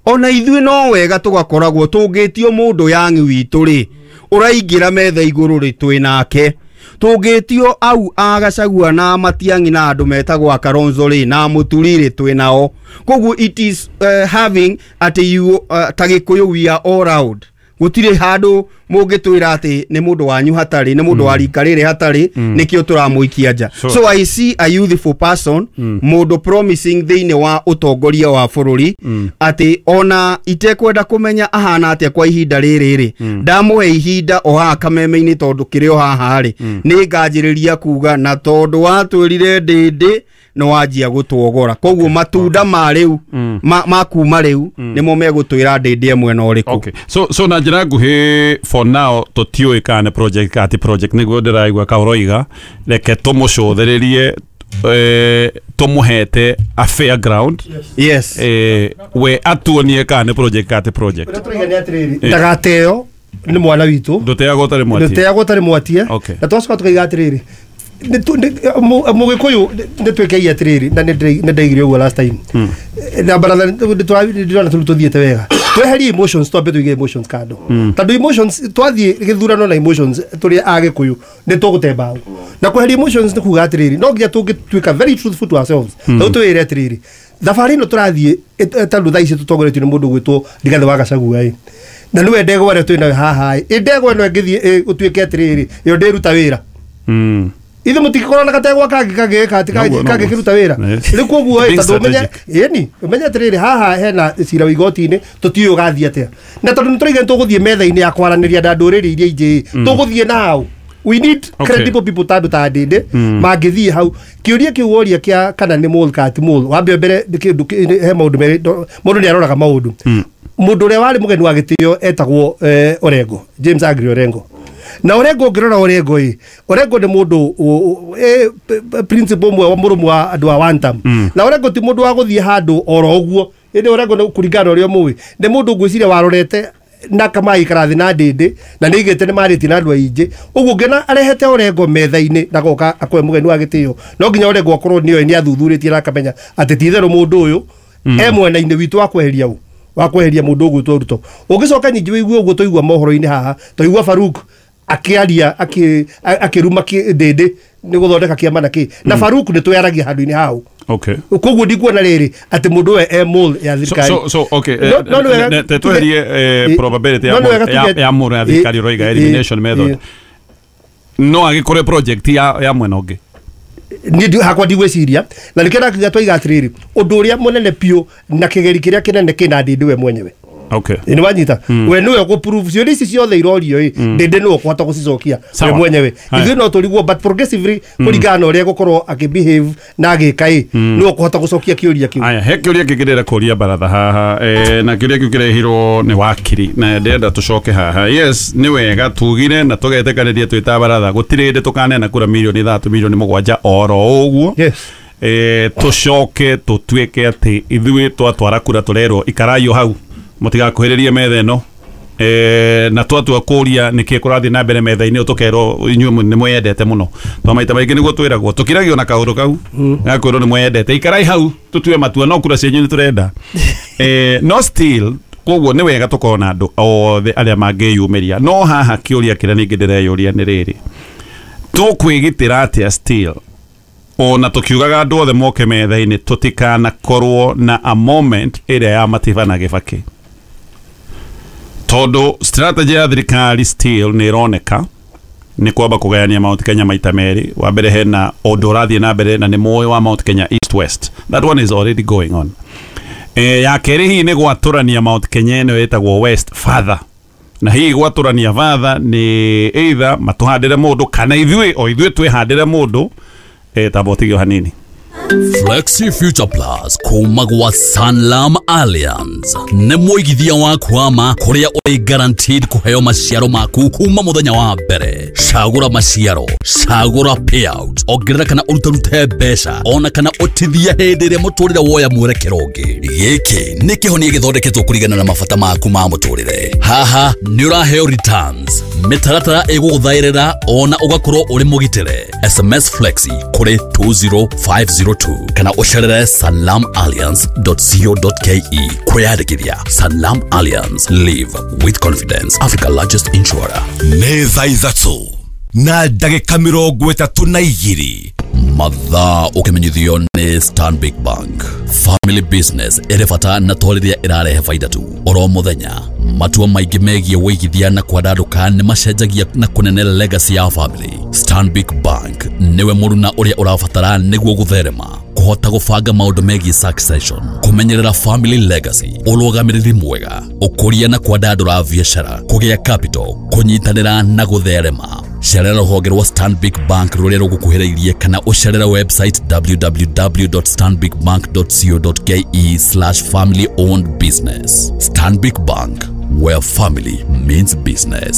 Ona ithuĩ no wega tũgakoragwo tũngĩtio mũndũ young witũ rĩ, ũraingĩra metha igũrũ rĩ, twĩ nake. Tũngĩtio au a Gachagua na Matiang'i na andũ metagwo Kalonzo rĩ na Mũturi rĩ twĩ nao. Koguo it is uh, having atĩ you uh, ta Gĩkũyũ we are all round. Gũtirĩ handũ mũngĩtwĩra atĩ nĩ mũndũ wanyu hatarĩ, nĩ mũndũ wa rika rĩrĩ hatarĩ, Mm. nĩkĩo tũramũikia nja. So- So I see a youthful person, Mm. mũndũ promising thĩinĩ wa ũtongoria wa bũrũri, Mm. atĩ ona itekwenda kũmenya ahana atĩa kwa ihinda rĩrĩ rĩ, Mm. ndamũhe ihinda o haha kameme-inĩ tondũ kĩrĩ o haha rĩ, Mm. nĩ nganjĩrĩria kuga na tondũ watwĩrire ndĩndĩ nĩ wanjia gũtuogora. Koguo matunda ma rĩu Mm. ma, ma kuma rĩu Mm. nĩmo megũtwĩra ndĩndĩ e mwena ũrĩkũ. Okay. So so na njĩra nguhĩ for now tũtiũĩ kana nĩ project kana ti project, nĩguo ndĩraigua kaũroiga reke tũmũcũthĩrĩrie, eh, tũmũhete a fair ground. Yes. Eh, we atuonie kana nĩ project kana ti project. Ũrĩa tũraiga nĩ atĩrĩrĩ, Eh. ndagateo nĩ mwana witũ, Ndũteagwo ũtarĩ mwatie. ndũteagwo ũtarĩ mwatie. Okay. Na twacoka tũkaiga atĩrĩrĩ, mũgĩkũyũ nĩ twĩkei atĩrĩrĩ, na nĩ ndaigire ũguo last time Mm. na baratha ndĩrona tũrĩ tũthiĩte wega, tweherie emotions, twambe tũige emotions kando, Mm. tondũ emotions twathiĩ gĩthurano na emotions tũrĩ agĩkũyũ nĩ tũgũte mbaũ. Na kweheria emotions nĩ kuga atĩrĩrĩ, no nginya tũngĩtuĩka very truthful to ourselves. Mm. Tondũ twĩre atĩrĩrĩ, thabarĩ ĩno tũrathiĩ ĩ- tondũ thaa ici tũtongoretio nĩ mũndũ ũgwĩtwo Rigathĩ wa Gachagua ĩ, na nĩwe ndegwa ĩrĩa twĩ nayo haha ĩ, ĩ ndegwa ĩno ĩngĩthiĩ ĩ, gũtuĩke atĩrĩrĩ ĩyo ndĩruta wĩra, Mm. ithe mũtingĩkorwo na gategwa kangĩ kangĩka atĩ Noguo, noguo. kangĩkĩruta wĩra. Yes. Rĩu koguo ĩ, Being tondũ ũmenye strategic. ĩni ũmenye atĩrĩrĩ, haha hena cira wa igoti-inĩ tũtiũĩ ũgathiĩ atĩa, na tondũ nĩtũraiga nĩtũgũthiĩ metha-inĩ ya kwaranĩria na ndũrĩrĩ iria ingĩ ĩ, Mm. tũgũthiĩ nao. We need Okay. credible people ta andũ ta Ndĩndĩ Mm. mangĩthiĩ hau. Kĩũria kĩu woria kĩa kana nĩ mole kana ti mole, wambe mbere nĩ kĩndũ kĩ- he maũndũ merĩ, ndo- mũndũ nĩ aroraga maũndũ. Mm. Mũndũ ũrĩa warĩ mũgeni wa gĩtĩo etagwo eh, Orengo, James Agri Orengo. Na Orengo ũngĩrora Orengo ĩ, Orengo nĩ mũndũ ũ- ũ- ĩ, p- p- principle ũmwe wa mũrũmu wa andũ a one term. Mm. Na Orengo ti mũndũ wa gũthiĩ handũ oro ũguo, ĩndĩ Orengo nĩ kũringana na ũrĩa mũĩ nĩ mũndũ ngwĩciria warorete na kamaikara thĩ na Ndĩndĩ na nĩ aigĩte nĩ marĩtie na andũ aingĩ ũguo ngĩona arehete Orengo metha-inĩ na goka akoe mũgeni wa gĩtĩo, no nginya Orengo akorwo nĩoĩ nĩ athuthurĩtie na akamenya atĩ ti itherũ mũndũ ũyũ Mm. e mwena-inĩ witũ wa kweheria ũ wa kweheria mũndũ ũgwĩtwo Ruto. Ũngĩcoka nyingĩ wĩigue ũguo tũigua mohoro-inĩ haha, tũigua Faruk akĩaria akĩ- a- akĩruma kĩ- Ndĩndĩ nĩ gũthondeka kĩama na kĩ na Mm. Faruk nĩ twĩaragia handũ-inĩ hau. Okay. Koguo ndikuona rĩrĩ atĩ mũndũ we e mole ya So, thirikari. so, so okay. No- eh, no nĩ wega ne- ne- tweherie eh, Eh, probability ya no nĩ wega mole- ya- tuge- ya mole ya thirikari eh, ũroiga eh, elimination method. eh. No agĩkorwo project ya ya mwena ũngĩ. Niĩ ndi- hakwa ndigwĩciria, na nĩkĩo ndakiuga twaiga atĩrĩrĩ, ũndũ ũrĩa mũnene biũ na kĩgeri kĩrĩa kĩnene kĩna Ndĩndĩ we mwenyewe. Okay. Nĩ wanyita? Mm. We nĩwe ũgũprove ciũria ici ciothe irorio ĩ, Mm. Ndĩndĩ nĩwe ũkũhota gũcicokia we Sawa. mwenyewe. Haya. Ithuĩ no tũrigwo, but progressively Mm. kũringana na ũrĩa egũkorwo akĩbehave na agĩka ĩ, Mm. nĩwe ũkũhota gũcokia kĩũria kĩu. Aya, he kĩũria kĩngĩ ndĩrenda kũria baratha haha, eh, na kĩũria kĩu kĩrehirwo nĩ wakiri na ndĩrenda tũcoke haha. Yes, nĩ wega tugire na tũgetĩkanĩria twĩ ta baratha gũtirĩ hĩndĩ tũkaneana kura mirioni ithatũ mirioni mũgwanja oro ũguo. Yes. Eh, tũcoke tũtuĩke atĩ ithuĩ twatwara kura tũrerwo ikarai o hau mũtigakuhĩrĩrie metha ĩno, eh, na twatua kũria nĩkĩ kũrathiĩ na mbere metha-inĩ ĩyo tũkerwo inyuĩ nĩ mweyendete mũno, to maita maingĩ nĩguo twĩragwo tũkiragio na kaũndũ kau gakwĩrwo nĩ mweyendete, ikarai hau tũtue matua no kura cianyu nĩ tũrenda. Eh, no still koguo nĩ wega tũkorwo na andũ othe arĩa mangĩyumĩria, no haha kĩũria kĩrĩa ningĩ ndĩreyũria nĩ rĩrĩ, tũkwĩgitĩra atĩa still ona tũkiugaga andũ othe moke metha-inĩ tũtikanakorwo na a moment ĩrĩa ya Matiba na Gĩbakĩ, tondũ strategy ya thirikari still nĩ ĩroneka nĩ kwamba kũgayania Mount Kenya maita merĩ. Wa mbere hena ũndũ ũrathiĩ na mbere na nĩ mũĩ wa Mount Kenya East West, that one is already going on. E, ya kerĩ hihi nĩ gwatũrania Mount Kenya ĩno ĩtagwo West further, na hihi gwatũrania further nĩ either matũhandĩre mũndũ kana ithuĩ o ithuĩ twĩhandĩre mũndũ. E, tamba ũtige o hanini. Flexi Future Plus kuma gwa Sanlam Alliance nĩ mũigithia wa kwama kũrĩa ũrĩ guaranteed kũheo maciaro maku kuma mũthenya wa mbere. Cagũra maciaro, cagũra payout, ongerera kana ũrutarute mbeca ona kana ũtithie hĩndĩ ĩrĩa mũtũrĩre woya mwerekero ũngĩ. Gĩkĩ nĩ kĩhonia gĩthondeketwo kũringana na mabata maku ma mũtũrĩre. Haha nĩ ũraheo returns, mĩtaratara ĩgũgũthaĩrĩra ona ũgakorwo ũrĩ mũgitĩre. S M S Flexi kũrĩ two zero five zero two kana ũcerere sanlam alliance dot co dot ke kwĩyandĩkithia. Sanlam Alliance, live with confidence, Africa's largest insurer. Nĩ thaa ithatũ. Na ndagĩka mĩrongo ĩtatũ na igĩrĩ. Mathaa ũkĩmenyithio nĩ Stanbic Bank. Family business ĩrĩ bata na to rĩrĩa ĩrarehe baida tu. Oro mũthenya matua maingĩ megiĩ wĩigithia na kwandandũka nĩ macenjagia na kũnene legacy ya family. Stanbic Bank nĩwe mũruna ũrĩa ũrabatara nĩguo gũtherema, kũhota gũbanga maũndũ megiĩ succession, kũmenyerera family legacy, ũrũgamĩrĩri mwega, ũkũria na kwandandũra biacara, kũgĩa capital, kũnyitanĩra na gũtherema. Cerera rũhonge rwa Stanbic Bank rũrĩa rũgũkuhĩrĩirie kana ũcerere website w w w dot stanbicbank dot co dot k e slash family owned business. Stanbic Bank, where family means business.